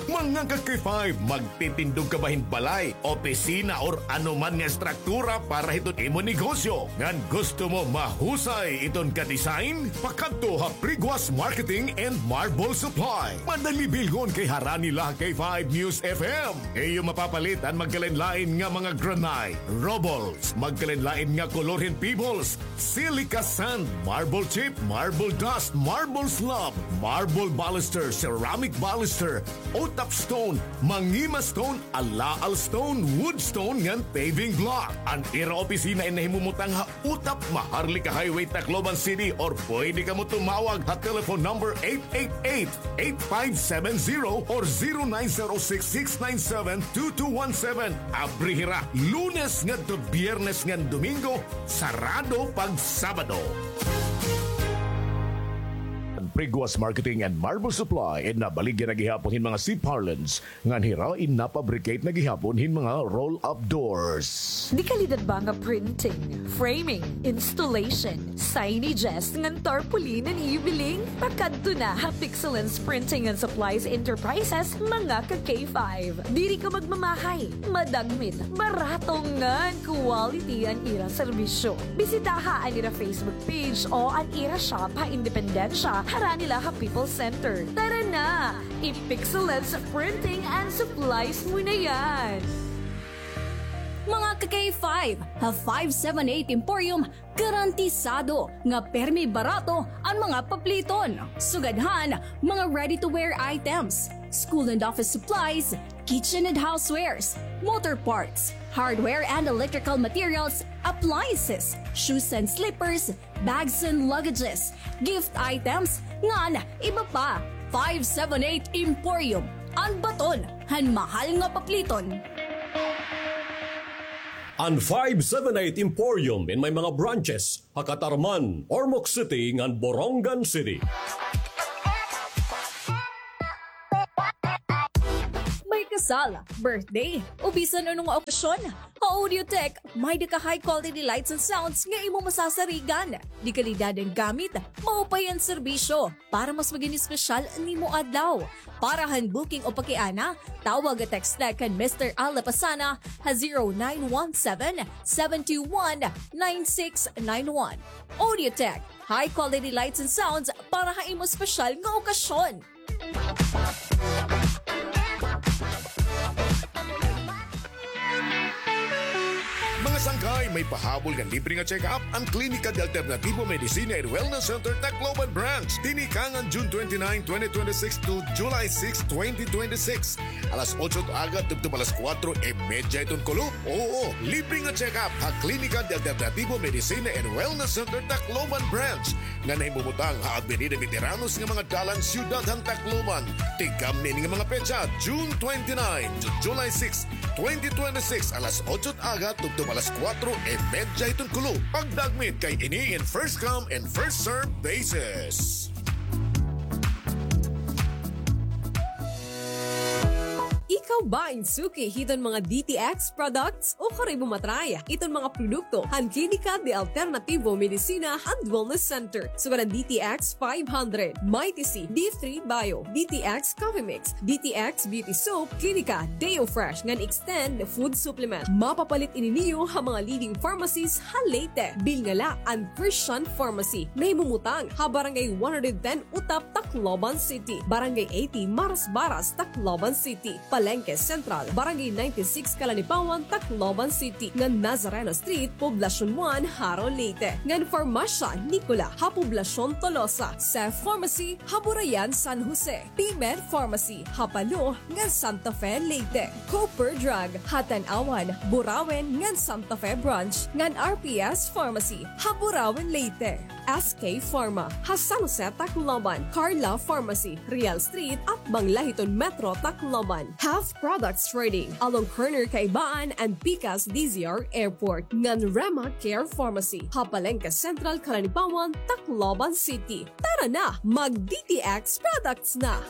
Mga ka-K five, magtitindog ka ba hin balay, opisina, or ano man nga estruktura para hiton imo negosyo? Ngan gusto mo mahusay iton ka-design? Pakadto ha Priguas Marketing and Marble Supply. Madali bilhon kay harani la ha K five News F M. Iyo mapapalit an magkalain-lain nga mga granite, rubbles, magkalain-lain nga kolor hin pebbles, silica sand, marble chip, marble dust, marble slab, marble baluster, ceramic baluster, utap stone, mangima stone, alaal stone, wood stone, ngan paving block. An ira opisina in nahimumutang ha Utap, Maharlika Highway, Tacloban City, or pwede kamo tumawag ha telephone number eight eight eight, eight five seven zero or zero nine zero six, six nine seven, two two one seven. Abri hira Lunes ngadto Biyernes ngan Domingo, sarado pag Sabado. Priguas Marketing and Marble Supply, in nabaligya na gihapon hin mga C-parlance, ngan hira in napabricate na gihapon hin mga roll-up doors. Dekalidad ba nga printing, framing, installation, signages, ngan tarpaulin an iyo biling? Pakadto na ha Pixelens Printing and Supplies Enterprises, mga ka-K five. Diri ka magmamahay, madagmit, barato ngan quality an ira serbisyo. Bisitaha an ira Facebook page o an ira shop ha Independencia, harani la ha People's Center. Tara na! I-Pixelens Printing and Supplies mo na yan! Mga K five, ha five seven eight Emporium, garantisado nga permi barato an mga papliton. Sugad han mga ready-to-wear items, school and office supplies, kitchen and housewares, motor parts, hardware and electrical materials, appliances, shoes and slippers, bags and luggages, gift items, ngan iba pa. Five seven eight Emporium, an baton han mahal nga papliton. An five seven eight Emporium in may mga branches ha Catarman, Ormoc City, ngan Borongan City. May kasal, birthday, o bisan ano nga okasyon, ha Audiotech, may-ada ka high quality lights and sounds nga imo masasarigan. Dekalidad an gamit, maupay an serbisyo, para mas magin espesyal an imo adlaw. Para han booking o pakiana, tawag o text la kan Mister Al Lapasana ha zero nine one seven, seven two one, nine six nine one. Audiotech, high quality lights and sounds para ha imo espesyal nga okasyon. Mga sangkay, may pahabol nga libre nga check-up an Klinika de Alternativo Medicina and Wellness Center, Tacloban Branch. Tinikangan June twenty-nine, twenty twenty-six to July six, twenty twenty-six. Alas otso it aga tubtob alas kuwatro y medya iton kulop. Oo, libre nga check-up ha Klinika de Alternativo Medicina and Wellness Center, Tacloban Branch, nga nahimumutang ha Avenida Veteranos nga mga dalan, Siyudad han Tacloban. Tigkamni ini nga mga petsa, June twenty-nine to July six, twenty twenty-six, alas otso it aga tubtob alas kuwatro y medya iton kulop. Pagdagmit kay ini in first come and first serve basis. Ikaw ba in suki hiton mga D T X products? O kari mo matry iton mga produkto han Klinika de Alternativo Medicina and Wellness Center, sugad han D T X five hundred, Mighty C, D three Bio, D T X Coffee Mix, D T X Beauty Soap, Klinika Deo Fresh ngan Extend Food Supplement. Mapapalit ini niyo ha mga leading pharmacies ha Leyte. Bilnga la an Christian Pharmacy, nahimumutang ha Barangay one hundred ten Utap, Tacloban City, Barangay eighty Marasbaras, Tacloban City, Palengke Central, Barangay ninety-six Calanipawan, Tacloban City, ngan Nazareno Street, Poblacion one, Jaro, Leyte, ngan Farmasya Nicola ha Poblacion Tolosa, Safe Pharmacy ha Burayan, San Jose, P-Med Pharmacy ha Palo ngan Santa Fe, Leyte, Cooper Drug ha Tanauan, Burauen ngan Santa Fe Branch, ngan R P S Pharmacy ha Burauen, Leyte. S K Pharma ha San Jose, Tacloban, Carla Pharmacy, Real Street, atbang la hiton Metro Tacloban, Half Products Trading, along corner Kaibaan and Pikas D Z R Airport, ngan Rema Care Pharmacy ha Palengke Central, Calanipawan, Tacloban City. Tara na, mag D T X products na!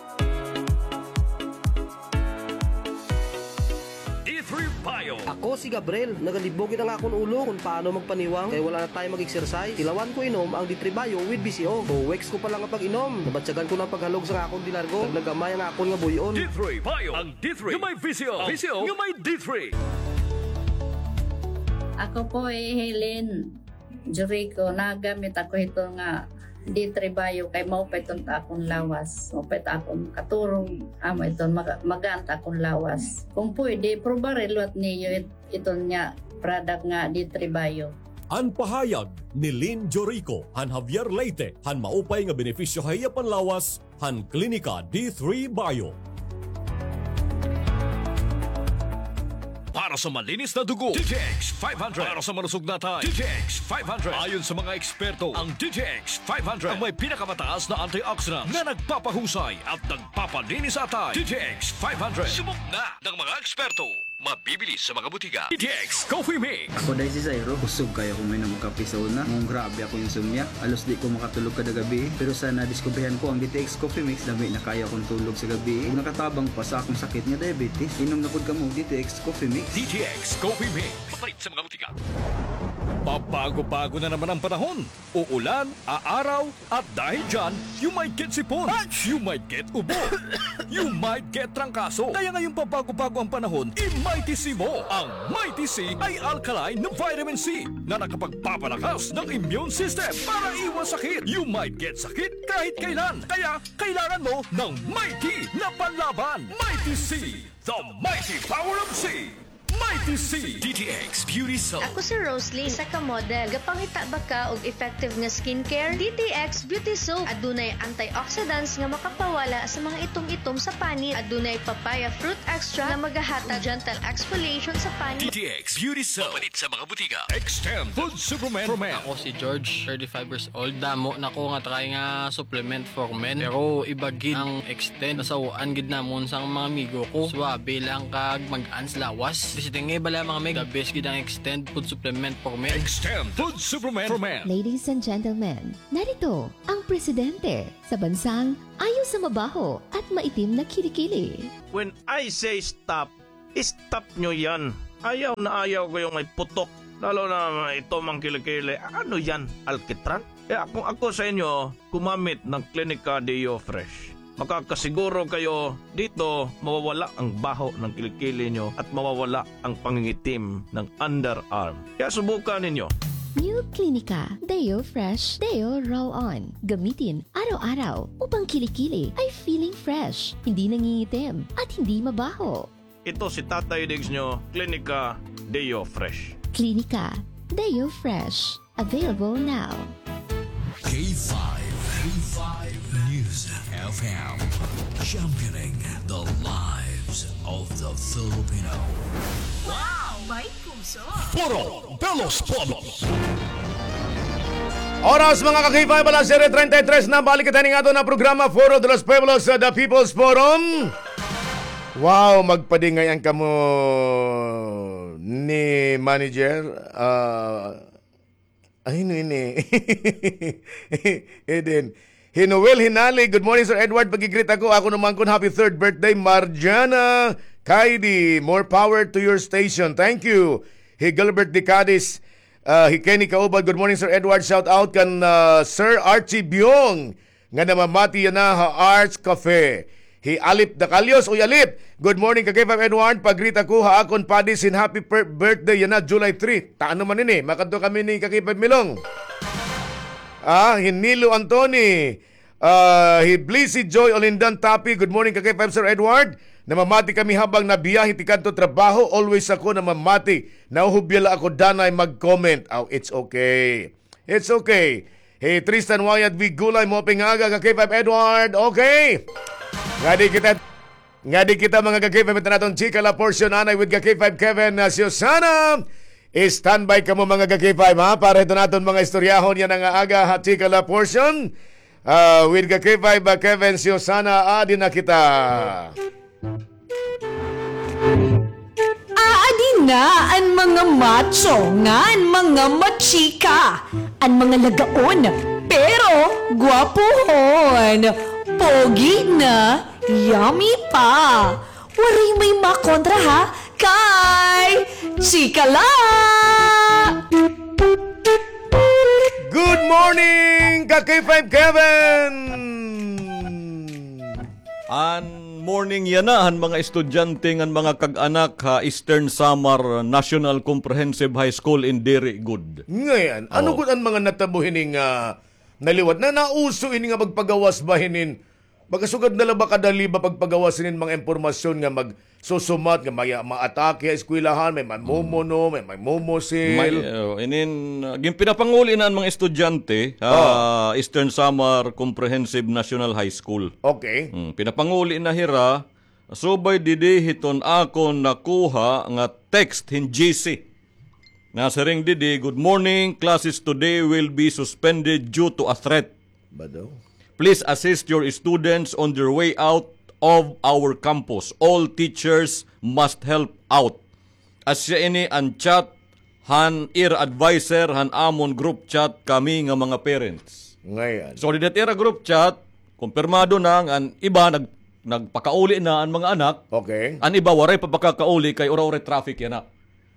D three Bio. Ako si Gabriel. Nagalibog it ang akon ulo kon paano magpaniwang kay wala na tayo mag-exercise. Tilawan ko inom ang D three Bio with V C O. Two weeks ko pa la nga pag-inom, nabatyagan ko na an paghalog sa akon dinargo. Nagnagamay ang akon nga buy-on. D three Bio. Ang D three nga may V C O. V C O nga may D three. Ako po hi Helen Jorico, nagamit ako hito nga D three Bio kay maupay iton ha akon lawas. Maupay it akon katurog. Amo iton maga-, magaan it akon lawas. Kon pwede, probar liwat niyo it-, iton nga product nga D three Bio. An pahayag ni Lynn Jorico han Javier Leyte han maupay nga benepisyo ha iya panlawas han Klinika D three Bio. Para sa malinis na dugo, D T X five hundred. Para sa malusog na atay, D T X five hundred. Ayon sa mga eksperto, ang D T X five hundred ang may pinakamataas na antioxidant na nagpapahusay at nagpapalinis sa atay. D T X five hundred. Subok na ng mga eksperto. Mabibili sa mga butika. D T X Coffee Mix. Ako day si Zairo. Kusog kaayo ko moinom og kape sa una. Ngan grabe akon insomnia. Halos di ko makatulog kada gabii. Pero sa nadiskubrihan ko ang D T X Coffee Mix, lami na kaayo akon tulog sa gabii. Ug nakatabang pa sa akon sakit nga diabetes. Inom na pod kamo og D T X Coffee Mix. D T X Coffee Mix. Mapalit sa mga butika. Pabago-bago na naman ang panahon. Uulan, aaraw, at dahil dyan, you might get sipon, you might get ubo, you might get trangkaso. Kaya ngayong pabago-bago ang panahon, i-Mighty C mo. Ang Mighty C ay alkaline na vitamin C na nakapagpapalakas ng immune system para iwas sakit. You might get sakit kahit kailan. Kaya kailangan mo ng Mighty na panlaban. Mighty C, the mighty power of C. Mighty C D T X Beauty Soap. Ako si Rosalie, isa ka model. Gapangita ba ka og effective nga skincare? D T X Beauty Soap. Adunay antioxidants nga makapawala sa mga itom-itom sa panit. Adunay papaya fruit extract nga magahatag gentle exfoliation sa panit. D T X Beauty Soap. Mapalit sa mga butika. Extend Food Supplement for Men. Ako si George, thirty-five years old. Damo na ko nga try nga supplement for men. Pero iba gid ang Extend. Nasaw-an gid namon sang mga amigo ko. Suabe lang kag mag-ans lawas. Basta tingay bala mga meg, the best gid ang Extend Food Supplement for Men. Extend Food Supplement for Men. Ladies and gentlemen, narito ang presidente sa bansang ayaw sa mabaho at maitim na kilikili. When I say stop, stop nyo yan. Ayaw na ayaw ko yung may putok. Lalo na ito mang kilikili. Ano yan? Alkitran? Kaya kung ako sa inyo, gumamit ng Clinica Deo Fresh. Makakasiguro kayo dito mawawala ang baho ng kilikili nyo at mawawala ang pangingitim ng underarm. Kaya subukan ninyo. New Clinica Deo Fresh Deo Roll On. Gamitin araw-araw upang kilikili ay feeling fresh, hindi nangingitim, at hindi mabaho. Ito si Tatay Diggs nyo, Clinica Deo Fresh. Clinica Deo Fresh. Available now. K five, K five News F M, championing the lives of the Filipino. Wow, may puso. Foro de los Pueblos. Oras, mga ka-K five, alas siyete treinta y tres na. Balik kita ning aton na programa, Foro de los Pueblos, uh, The People's Forum. Wow, magpadingayan kamo ni manager. Ah, ay, no, ini. Eden. Hi Noel Hinali, "Good morning, Sir Edward. Pag-greet ako, ako naman kun happy third birthday, Marjana Kaidi. More power to your station. Thank you." Hi Gilbert De Cadiz, ah, hi Kenny Kaubad, "Good morning, Sir Edward. Shout out kan, ah, Sir Archie Biong nga namamati yana ha Arts Cafe." Hi Alip Dacalios, "Uy, Alip, good morning, ka-K five Edward. Pag-greet ako ha akon padi sin happy per-, birthday yana, July three." Ta ano man ini, makadto kami ni ka-K five Milong. Ah, hi Nilo Antoni, ah, hi Blissy Joy Olindan Tapi, "Good morning, ka-K five Sir Edward. Namamati kami habang nabiyahe tikadto trabaho. Always ako namamati. Nahuhubya la ako danay mag-comment." Aw, it's okay. It's okay. Hi Tristan Wyatt V Gulay, maupay nga aga, ka-K five Edward. Okay. Ngadi kita, ngadi kita, mga ka-K five, ito naton chika la portion anay with ka-K five Kevin, uh, Susana. Standby kamo, mga ka-K five, ha? Para ito naton mga istoryahon yana nga aga ha chika la portion. Uh, with ka-K five, uh, Kevin, Susana, adi na kita. Aadi na an mga macho ngan mga machika, an mga lagaon pero gwapuhon, pogi na, yummy pa. Waray may makontra ha, kay chika la! Good morning, ka-K five Kevin! An morning yana han mga estudyante ngan mga kag-anak ha Eastern Samar National Comprehensive High School in diri gud. Ngay-an, ano gud an mga natabo hini nga naliwat? Na nauso ini nga magpagawas ba hinin? Baga sugad na la ba kadali ba pagpagawas hinin mga impormasyon nga magsusumat nga may maatake ha eskwelahan, may mamumuno, may, may mumusil? May, oh, inin, ah, gin-, pinapanguli na an mga estudyante ha Eastern Samar Comprehensive National High School. Okay. Hmm, pinapanguli na hira, subay didi hiton akon nakuha nga text hin G C. Nasiring didi, "Good morning, classes today will be suspended due to a threat." Ba daw? "Please assist your students on their way out of our campus. All teachers must help out." Asya ini an chat han ira adviser han amon group chat kami nga mga parents. Ngay-an. So, dida ha ira group chat, kumpirmado na nga an iba nag-, nagpakauli na an mga anak. Okay. An iba waray pa pakakauli kay ura-ura traffic yana.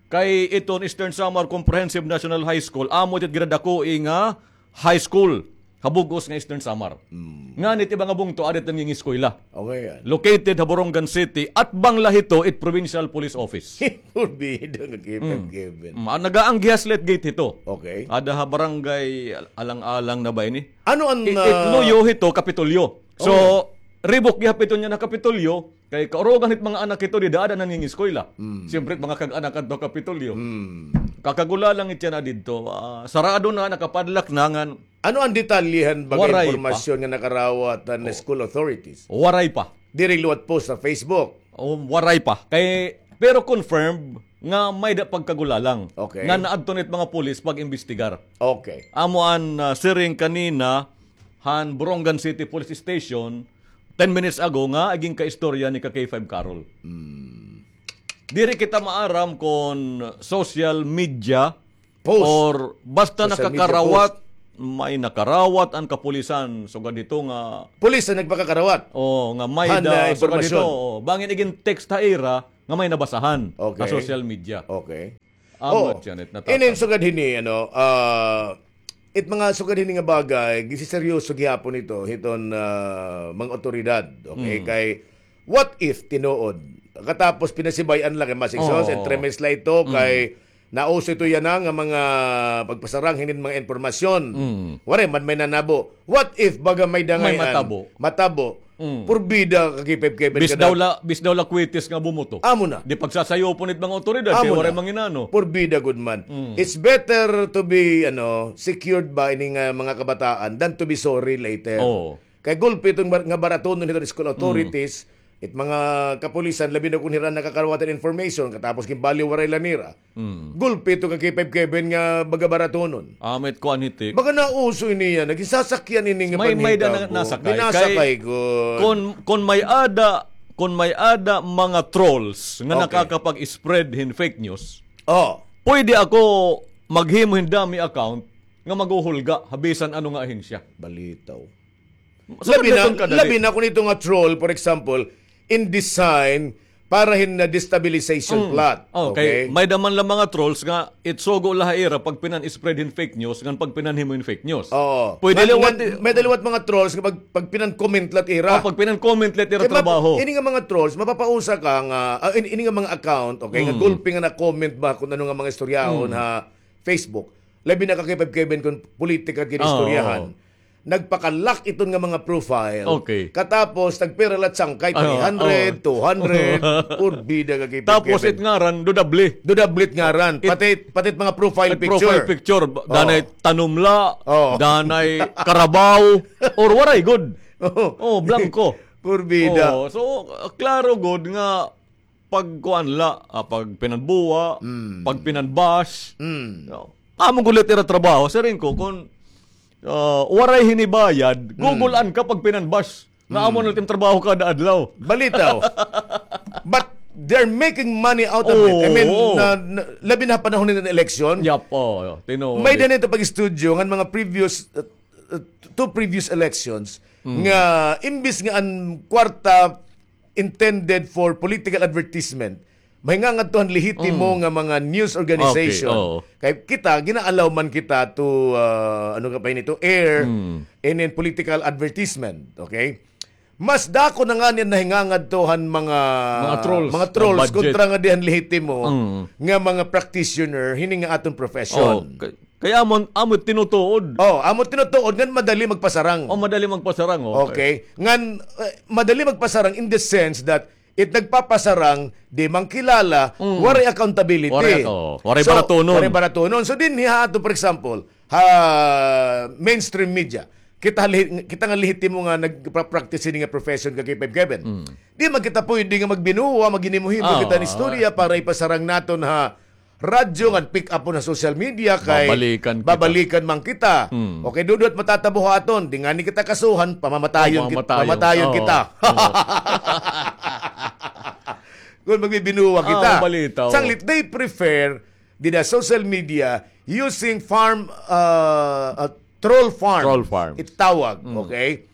Kay iton Eastern Samar Comprehensive National High School, amo it gradakoi nga high school ha bug-os nga Eastern Samar. Mm. Ngan it iba nga bungto, adi it nangingiskwela. Okay, yan. Located ha Borongan City, atbang la hito it Provincial Police Office. Forbida nga given, given. Mm, ah, nagaanggihas la it gate hito. Okay. Ada ha barangay Al-, Alang-alang na ba ini? Ano an, it, it ah, luyo hito, Kapitolyo. So, okay. Ribok gihap ito niya na Kapitolyo, kay kaurugan hit mga anak ito, dida ada nangingiskwela. Mm. Siyempre, mga kag-anak adto Kapitolyo. Mm. Kakagulalang it yana didto. Ah, sarado na, nakapadlock na ngan. Ano an detalye han baga impormasyon nga nakarawat han school authorities? Waray pa. Diri liwat post sa Facebook. O, waray pa. Kay, pero confirmed nga may-ada pagkagulalang. Okay. Nga naadto na it mga pulis pag-imbestigar. Okay. Amo an, ah, siring kanina han Borongan City Police Station, ten minutes ago nga agi ginkaistorya ni ka K five Carol. Hmm. Diri kita maaram kon social media post or basta nakakarawat, may nakarawat an kapulisan. Sugad hito nga pulis an nagpakakarawat. O, nga may-ada, sugad hito, o, bangin igin-text ha ira nga may nabasahan ha social media. Okay. Amo it yana, it natatabo. Inin sugad hini, ano, ah, it mga sugad hini nga bagay, gisiseryoso gihapon ito hiton, ah, mga awtoridad, okay? Kay, what if, tinuod? Katapos pinasibay-an la kay masigsos, entremes la ito, kay nauso ito yana nga mga pagpasarang hinin mga impormasyon. Waray man may nanabo. What if baga may dangayan? May matabo. Matabo. Mm. Purbida ka K five Kevin. Bis daw la, bis daw la kwitis nga bumuto. Amo na. Di pagsasayopon it mga awtoridad, kay waray manginano. Purbida gud man. Mm. It's better to be, ano, secured ba ini nga mga kabataan than to be sorry later. Oo. Kay gulpi iton bar-, nga baratonon hito school authorities, it mga kapulisan, labi na kon hira nakakarawat han information, katapos ginbaliwaray la nira. Mm. Gulpi ito ka K five Kevin nga baga baratonon. Amit ko an hitik. Baga nauso ini yana, nagisasakyan ini nga panhitabo. May, may-ada na, nasakay. Ginasakay gud. Kon, kon may-ada, kon may-ada mga trolls nga nakakapag-spread hin fake news, pwede ako maghimo hin dummy account nga maghuhulga ha bisan ano nga ahensya. Balitaw. Labi na, labi na kon ito nga troll, for example, in design para hin, ah, destabilization plot. Okay. May-ada man la mga trolls nga it sugo la ha ira pagpinan-spread hin fake news ngan pagpinanhimo hin fake news. Oo. Pwede liwat, may-ada liwat mga trolls nga pag, pagpinan-comment la ha ira. O, pagpinan-comment la ha ira trabaho. Ini nga mga trolls, mapapausa ka nga, ah, ini, ini nga mga account, okay, nga gulpi nga na-comment ba kon ano nga mga istoryahon ha Facebook. Labi na ka K five Kevin kon politika gin-istoryahan. Nagpaka-lock iton nga mga profile. Okay. Katapos, nagpira la it sangkay, three hundred, two hundred, purbida ka K five Kevin. Tapos it ngaran, dodable. Dodable it ngaran. Pati, pati it mga profile picture. Profile picture, danay tanom la, danay karabaw, or waray gud. O, blanko. Purbida. O, so, klaro gud nga pagkuan la, ah, pagpinanbuwa, pagpinanbash. No? Amo gud la it ira trabaho, siring ko, kon, ah, waray hini bayad, gugul-an ka pagpinanbash. Nga amo na it im trabaho kada adlaw. Balitaw. But they're making money out of it. I mean, na, na, labi na ha panahon hin eleksyon. Yap, o, tinuod. May-ada nito pag-istudyo ngan mga previous, uh, uh, two previous elections nga imbis nga an kwarta intended for political advertisement, mahingangadto han lehitimo nga mga news organization. Okay, oo. Kay kita, gina-allow man kita to, ah, ano ka pa ini, to air inin political advertisement, okay? Mas dako na ngani an nahingangadto han mga, mga trolls, mga trolls, kontra ngadi han lehitimo nga mga practitioner hini nga aton profession. Kay amo, amo tinutuod. O, amo tinutuod ngan madali magpasarang. O, madali magpasarang, okay. Okay. Ngan, eh, madali magpasarang in the sense that it nagpapasarang, di man kilala, waray accountability. Waray, o, waray baratonon. So, waray baratonon. So, dinhi ha ato, for example, ha mainstream media, kita, kita nga lehitimo nga nagpa-practice hini nga profession ka K five Kevin. Di man kita pwede nga magbinuwa, maghinimo-himo kita hin istorya para ipasarang naton ha radyo ngan pick up ha social media kay babalikan man kita. Okay, dudot matatabo ha aton, di ngani kita kasuhan, pamamatayon kita. Kon magbibinuwa kita. Sanglit, they prefer dida social media using farm, uh, uh, troll farm. Troll farm. Itawag, okay?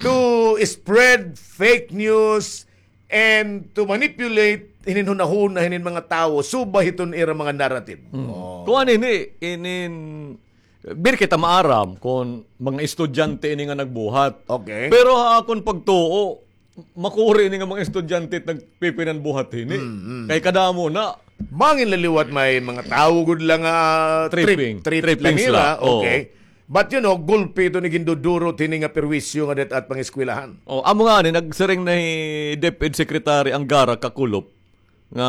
To spread fake news and to manipulate hinin hunahuna hinin mga tawo subay hiton ira mga narrative. Kuan ini, inin, diri kita maaram kon mga estudyante ini nga nagbuhat. Okay. Pero ha akon pagtuo, makuri ini nga mga estudyante it nagpipinanbuhat hini. Kay kadamo na. Bangin la liwat may mga tawo gud la nga trip, trip la nira. Okay. But you know, gulpi ito ni gindudurot hini nga perwisyo nga det at pangeskwelahan. Oh, amo nga ni, nagsiring na hi DepEd Secretary Angara kakulop nga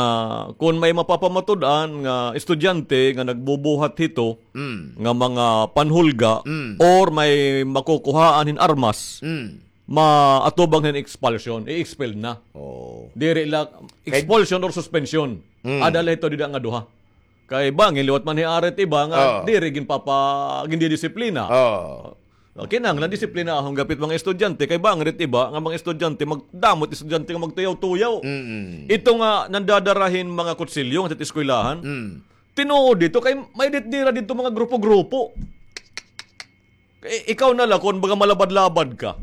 kon may mapapamatud-an nga estudyante nga nagbubuhat hito Mm. nga mga panhulga Mm. or may makukuhaan hin armas, Mm. maatubang hin expulsion, i-expel na. Oh. Diri la, expulsion or suspension. Mm. Ada la hito dida nga duha. Kay bangin liwat man hi arit iba nga Oh. diri ginpapa-, gindidisiplina. Oh. Oh, kinahanglan disiplinahon gihap it mga estudyante, kay bangin it iba nga mga estudyante, magdamo it estudyante nga magtuyaw-tuyaw. Mm-mm. Ito nga nandadara hin mga kutsilyo nga sa eskwelahan. Mm. Tinuod dito, kay may dit nira dito mga grupo-grupo. Eh, ikaw na la, kon baga malabad-labad ka,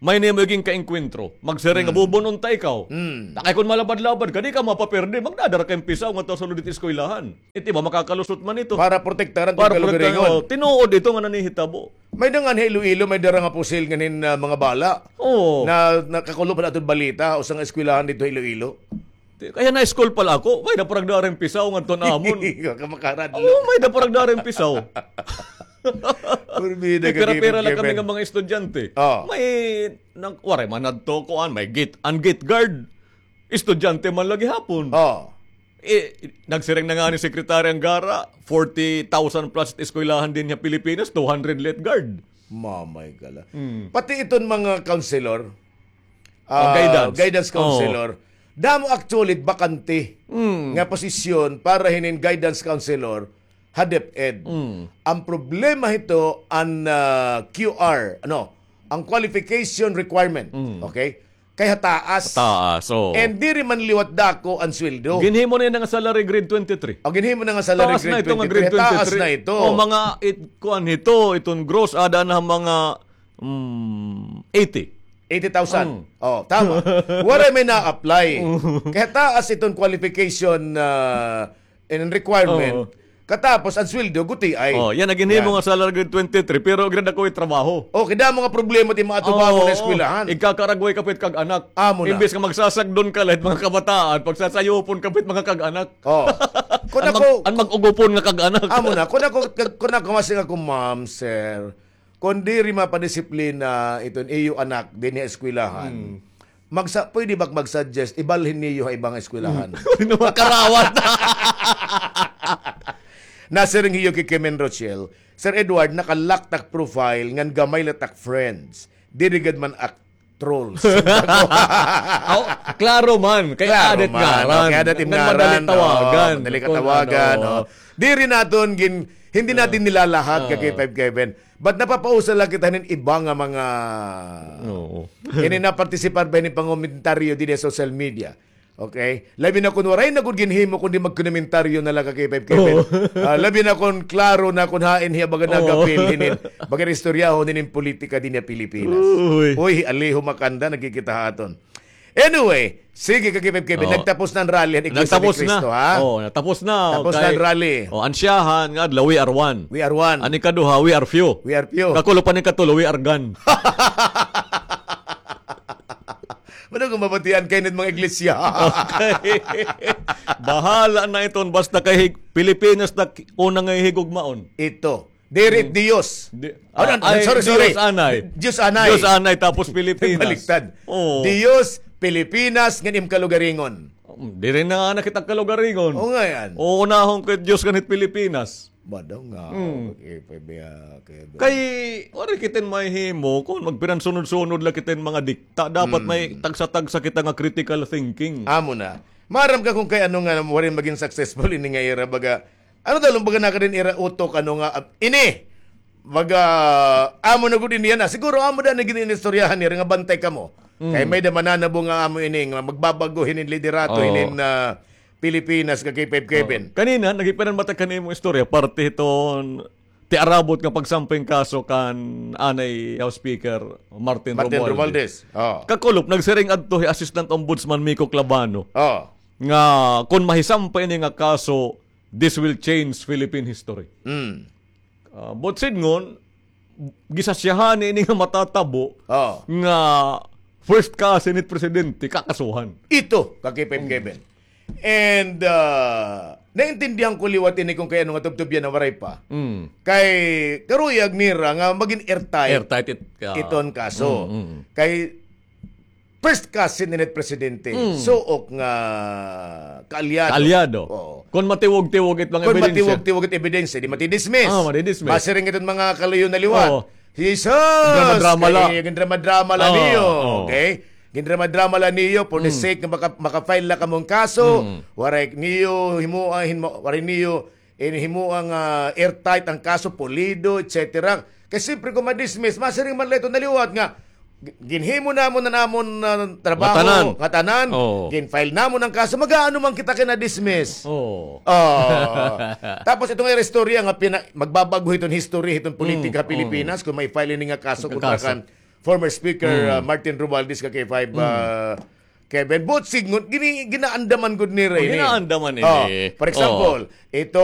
may nimo igin kaengkwentro. Magsiring nga, Mm. "Bubun-on ta ikaw." Mm. Takay kon malabad-labad ka, di ka mapaperde. Magdadara ka hin pisaw ngadto ha sulod hit eskwelahan. Iti ba, makakalusot man ito. Para protektaran Para it kalugaringon. Protektaran, oh, tinuod ito nga nanihitabo. May da ngan ha Iloilo, may dara nga pusil ngan hin, ah, mga bala. Oo. Na, nakakulop pa aton balita, usa nga eskwelahan dito ha Iloilo. Ti-, kay high school pa la ako, may da pa nagdara hin pisaw ngadto ha amon. Kamakaran Oo, may da pa nagdara hin pisaw. Pira-pira lang kami nga mga estudyante. Oh. May, nang, waray man adto, kuan, may gate, an gate guard. Estudyante man la gihapon. Oh. Eh, nagsiring na ngani Secretary Angara, forty thousand plus eskwelahan dinhi ha Pilipinas, two hundred la it guard. Mamay ka la. Mm. Pati iton mga counselor, Oh, ah, guidance. Guidance Oh. counselor, damo actually bakante Mm. nga posisyon para hinin guidance counselor ha DepEd. Mm. Ang problema hito, ang, ah, Q R, ano, ang qualification requirement. Mm. Okay? Kay hataas. Hataas, oo. And diri man liwat dako ang sweldo. Ginhimo na nga salary grade twenty-three. O, ginhimo na nga salary Taas na grade ito nga twenty-three. Grade Hataas twenty-three. Na ito. O, mga it-, kuan hito, iton gross, ada na mga, mm, eighty. Eighty thousand. Mm. O, tama. Waray may na-apply. Mm. Kay hataas iton qualification, ah, and requirement. Oo. Katapos, ang sweldo, gutiay. Oh, yana, ginhimo nga salary grade twenty-three, pero grade ako it trabaho. Oh, kay damo nga problema ti mga atubangon nga eskwelahan. Igkakaragway ka pa it kag-anak. Amo na. Imbes nga magsasagdon ka la hit mga kabataan, pagsasayupon ka pa it mga kag-anak. Oh. An mag-, an mag-ugupon nga kag-anak. Amo na. Kun ako, kun ako, masiring ako, ma'am, sir, kon diri mapadisiplina iton iyo anak dinhi ha eskwelahan, hmm, magsa-, pwede ba mag-suggest, ibalhin niyo ha ibang eskwelahan? Hmm. Pwede na makarawat. Nasiring hiyo ki Kemen Rochelle, Sir Edward, naka-lock tak profile, ngan gamay la tak friends. Diri gad man ak trolls. Aw, klaro man. Kay adat ngaran. Kay adat ngaran, madali tawagan. Madali ka tawagan, no? Diri naton gin-, hindi natin nilalahat, ka K five Kevin. But napapausa la kita hinin iba nga mga, ini napartisipar ba hinin pangomentaryo dinhi ha social media. Okay? Labi na kon waray na gud ginhimo kundi magkomentaryo na la, ka K five Kevin. Ah, labi na kon klaro na kon hain hiya baga nagapil hinin, baga istoryahon hinin politika dinhi ha Pilipinas. Uy, hi Alejo Macanda nagkikita ha aton. Anyway, sige, ka K five Kevin, nagtapos na an rally han Iglesia ni Cristo, ha? Oo, natapos na. Tapos na an rally. O, an siyahan nga adlaw, we are one. We are one. An ikaduha, we are few. We are few. Kakulop an ikatulo, we are gone. Mano nga mabatian kay nit mga iglesia. Okay. Bahala na iton, basta kay hig-, Pilipinas na ki-, una nga higugmaon. Ito. Diri Diyos. Di-, ah, sorry, sorry. Diyos anay. Diyos anay. Diyos anay, tapos Pilipinas. Baliktad. Oo. Diyos, Pilipinas, ngan im kalugaringon. Mm, diri na nga nakita kalugaringon. Oo nga yan. Uunahon ko it Diyos ngan it Pilipinas. Madaw nga. Mm. Okay, pwede, ah, kay waray kita mahihimo kon magpiransunod-sunod la kita mga dikta. Dapat may tagsa-tagsa kita nga critical thinking. Amo na. Maaram ka kon kay ano nga waray magin successful ini nga ira, baga, ano daw, baga, nakadin ira utok, ano nga, ah, ini. Baga, amo na gud ini yana. Siguro amo da na gin-inistoryahan nira nga bantay kamo. Mm. Kay may da mananabo nga amo ini, nga magbabago hinin liderato hinin, ah, Pilipinas, ka K five Kevin. Oo. Kanina, naghipinan mata kanimo istorya, parte hiton ti arabot nga pagsampay hin kaso kan anay House Speaker Martin Romualdez. Martin Romualdez. Oo. Kakulop, nagsiring adto hi Assistant Ombudsman Miko Clavano nga kon mahisampay ini nga kaso, this will change Philippine history. Mm. Ah, buot sidngon, gisasyahan ini nga matatabo nga first cousin hit presidente, kakasuhan. Ito, ka K five Kevin. And, ah, Naintindihan ko liwat ini kon kay ano nga tubtubyan na waray pa. Mm. Kay karuyag nira nga magin airtight Airtight it, ah, iton kaso. Mm, mm. Kay first cousin ini it presidente. Mm. Suok nga kaalyado. Kaalyado. Oo. Kon matiwog-tiwog it mga Kon ebidensya. matiwog-tiwog it ebidensya, di matidismiss. Ah, matidismiss. Masiring iton mga kaluyo na liwat. Oo. Jesus! Drama-drama la. Kay gindrama-drama la Oo, niyo. oo. Okay? Gindrama-drama la niyo for the Mm. sake nga maka-, maka-file la kamong kaso. Mm. Waray niyo himuan, hinmo-, waray niyo in himuang, ah, airtight ang kaso, pulido, et cetera. Kay siyempre kung ma-dismiss, masiring man la ito na liwat nga, gi-, ginhimo namon na namon, ah, trabaho, Ngatanan. ngatanan, Oo. gin-file namon ang kaso, mag-aano man kita kay na-dismiss. Oo. Oh. Tapos itong ira istorya nga pina-, magbabag-o hiton history, hiton politika Mm, ha Pilipinas, mm. kung may file ini nga kaso Ang kontra kaso. kan former Speaker, Mm. ah, Martin Romualdez ka K five, Mm. ah, Kevin. But sidngon, gini-, ginaandaman gud nira Oh, ini. ginaandaman Oh, ini. for example, Oh. itong